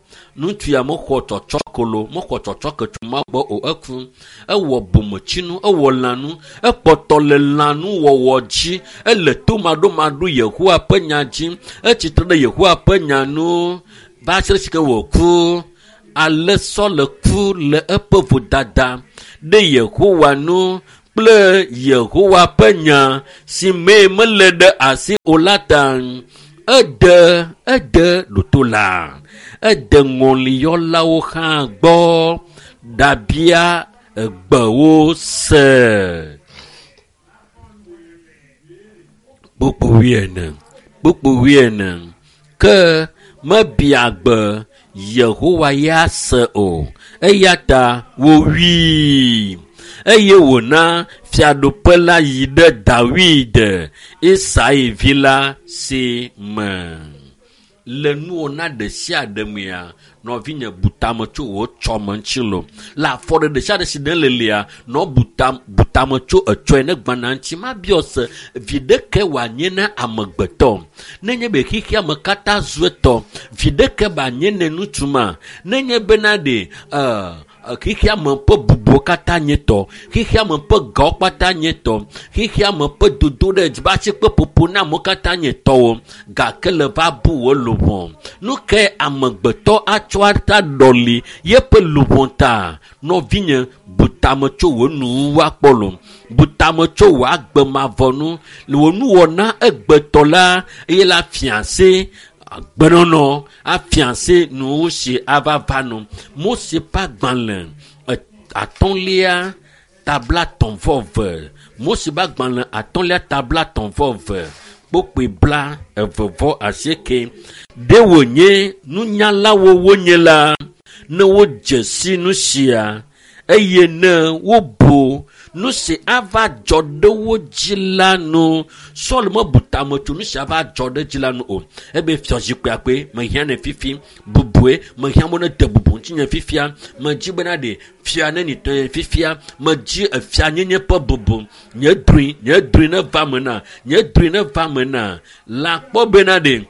Ŋutsu ya mexɔ tsɔtsɔ kolo, mexɔ tsɔtsɔ ke tso Mawu gbɔ o, eku. Ewɔ bometsinu, ewɔ lãnu, ekpɔtɔ le lãnuwɔwɔ dzi, ele tomaɖomaɖo Yehowa ƒe nya dzi, etsitre ɖe Yehowa ƒe nya nu va se ɖe esike wòku. Ale Saul ku le eƒe vodada ɖe Yehowa nu kple Yehowa ƒe nya si mee mele ɖe asi o la ta. Ede ede ɖoto la, ede ŋɔliyɔlawo hã gbɔ ɖabia egbewo se. Kpukpu wuiene, kpukpu wuiene. Ke mebia gbe Yehowa ya se o, eya ta wòwui eye wòna fiaɖuƒe la yi ɖe Dawid, Isai vi la si me. Le nuwɔna ɖe sia ɖe mea, nɔvinye bu tame tso wò tsɔme ŋuti lo. Le afɔɖeɖe ɖe sia ɖe si ne le lia, nɔ bu tam, bu tame tso etsɔe ne gbana ŋuti. Mabiɔ se vi ɖeke wòanye na amegbetɔ. Nenye be xexea me katã zu etɔ, vi ɖeke wòanye ne ŋutsu ma. Nenye bena ɖe, ɛ, xexea me ƒe bubuwo katã nye tɔ, xexea me ƒe gawo katã nye tɔ, xexea me ƒe dodo ɖe dzi be asi kpe ƒoƒo na amewo katã nye tɔwo, gake le va bu wò luʋɔ. Nu kae amegbetɔ atsɔ ata ɖɔli yeƒe luʋɔ ta? Nɔvinye, bu tame tso wò nuwuwu akpɔ lo. Bu tame tso wò agbe mavɔ nu. Le wò nuwɔna egbetɔ la, eye la fia se agbenɔnɔ afia se nuwo si ava va nu. Mose ƒe agbalẽ atɔ̃lia tabla tɔ̃ vɔ eve. Mose ƒe agbalẽ atɔ̃lia tabla tɔ̃ vɔ eve. Kpokpoe bla eve vɔ asieke. Ɖe wònye nunyalawo wonye la, ne wodze si nu sia eye ne wobu nu si ava dzɔ ɖe wo dzi la nu. Saul mebu tame tso nu si ava dzɔ ɖe dzi la nu o. Ebe fiazikpuia koe mehiã ne fifi, bubue mehiã be ne de bubu ŋutinye fifia. Medzi bena ɖe fia ne nitɔ ye fifia. Medzi efianyenye ƒe bubu. Nye drui, nye drui ne va me na, nye drui ne va me na. La kpɔ bena ɖe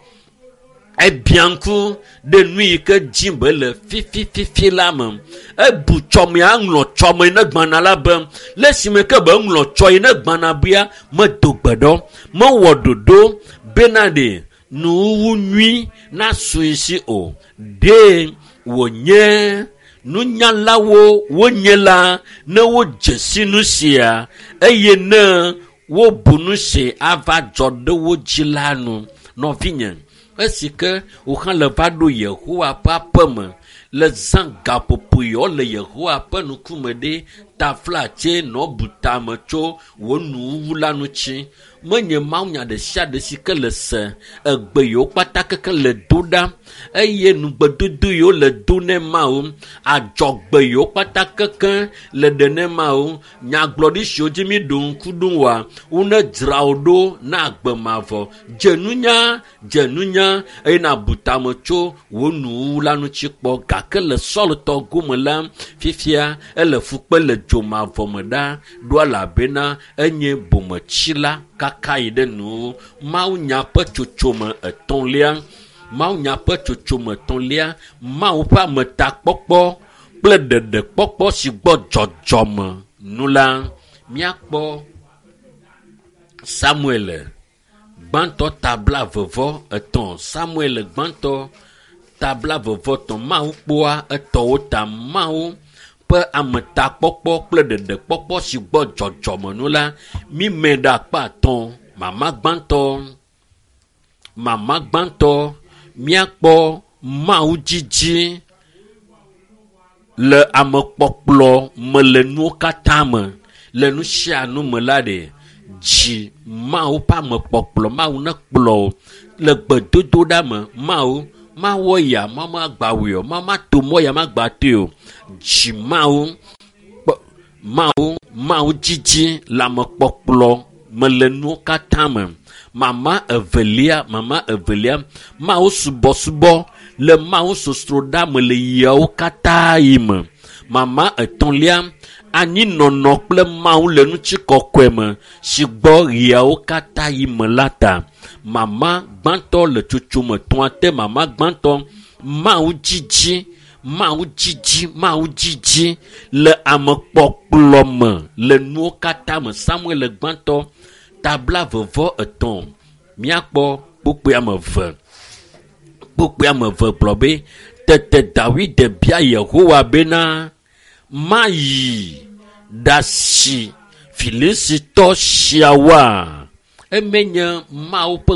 ebia ŋku ɖe nu yi ke dzim be le fifififi la me. Ebu tsɔmea ŋlɔ tsɔme ne gbana la be le esime ke be ŋlɔ tsɔ yi ne gbana bia medo gbe ɖɔ, mewɔ ɖoɖo bena ɖe nuwuwu nyui nasu yi si o. Ɖe wònye nunyalawo wonye la ne wodze si nu sia eye ne wobu nu si ava dzɔ ɖe wo dzi la nu. Nɔvinye, esi ke wò hã le va ɖo Yehowa ƒe aƒe me le zã gaƒoƒo yawo le Yehowa ƒe ŋkume ɖe taflatse nɔ bu tame tso wò nuwuwu la ŋuti. Menye mawunya ɖe sia ɖe si ke le se egbe yiwo kpata keke le do ɖa eye nugbedodo yiwo le do ne Mawu, adzɔgbe yiwo kpata keke le ɖe ne Mawu, nyagblɔɖi siwo dzi mi ɖo ŋku ɖo wa, wone dzra wo ɖo na agbe mavɔ. Dze nunya, dze nunya eye nàbu tame tso wò nuwuwu la ŋuti kpɔ. Gake le Saul tɔ gome la, fifia ele fukpe le dzo mavɔ me ɖa, ɖo elabena enye bometsila kaka yi ɖe nuwuwu. Mawunya ƒe tsotsome etɔ̃lia, Mawunya ƒe tsotsome etɔ̃lia, Mawu ƒe ametakpɔkpɔ kple ɖeɖekpɔkpɔ si gbɔ dzɔdzɔme nu la, míakpɔ Samuel gbãtɔ tabla vevɔ etɔ̃. Samuel gbãtɔ tabla vevɔ etɔ̃. Mawu kpɔa etɔwo ta. Mawu ƒe ametakpɔkpɔ kple ɖeɖekpɔkpɔ si gbɔ dzɔdzɔme nu la, mímɛ ɖe akpa atɔ̃. Mama gbãtɔ, mama gbãtɔ, míakpɔ Mawu dzidzi le amekpɔkplɔ me le nuwo katã me, le nu sia nu me la ɖe dzi Mawu ƒe amekpɔkplɔ. Mawu nekplɔ wò le gbedodoɖa me. Mawu mawɔ ya, Mawu magba wɔe o, Mawu mato mɔ ya magba toe o. Dzi Mawu kpɔ, Mawu, Mawu dzidzi le amekpɔkplɔ me le nuwo katã me. Mama evelia, mama evelia, Mawu subɔsubɔ le Mawu sosroɖa me le yawo katã yi me. Mama etɔ̃lia, anyinɔnɔ kple Mawu le ŋutikɔkɔe me si gbɔ ɣeawo katã yi me la ta. Mama gbãtɔ le tsotsome etɔ̃a te. Mama gbãtɔ, Mawu dzidzi Mawu dzidzi, Mawu dzidzi le amekpɔkplɔ me le nuwo katã me. Samuel gbãtɔ tabla vevɔ etɔ̃ míakpɔ kpukpui ame eve. Kpukpui ame eve gblɔ be tete Dawid bia Yehowa bena mayi ɖasi Filisitɔ siawoa? Eme nye Mawu ƒe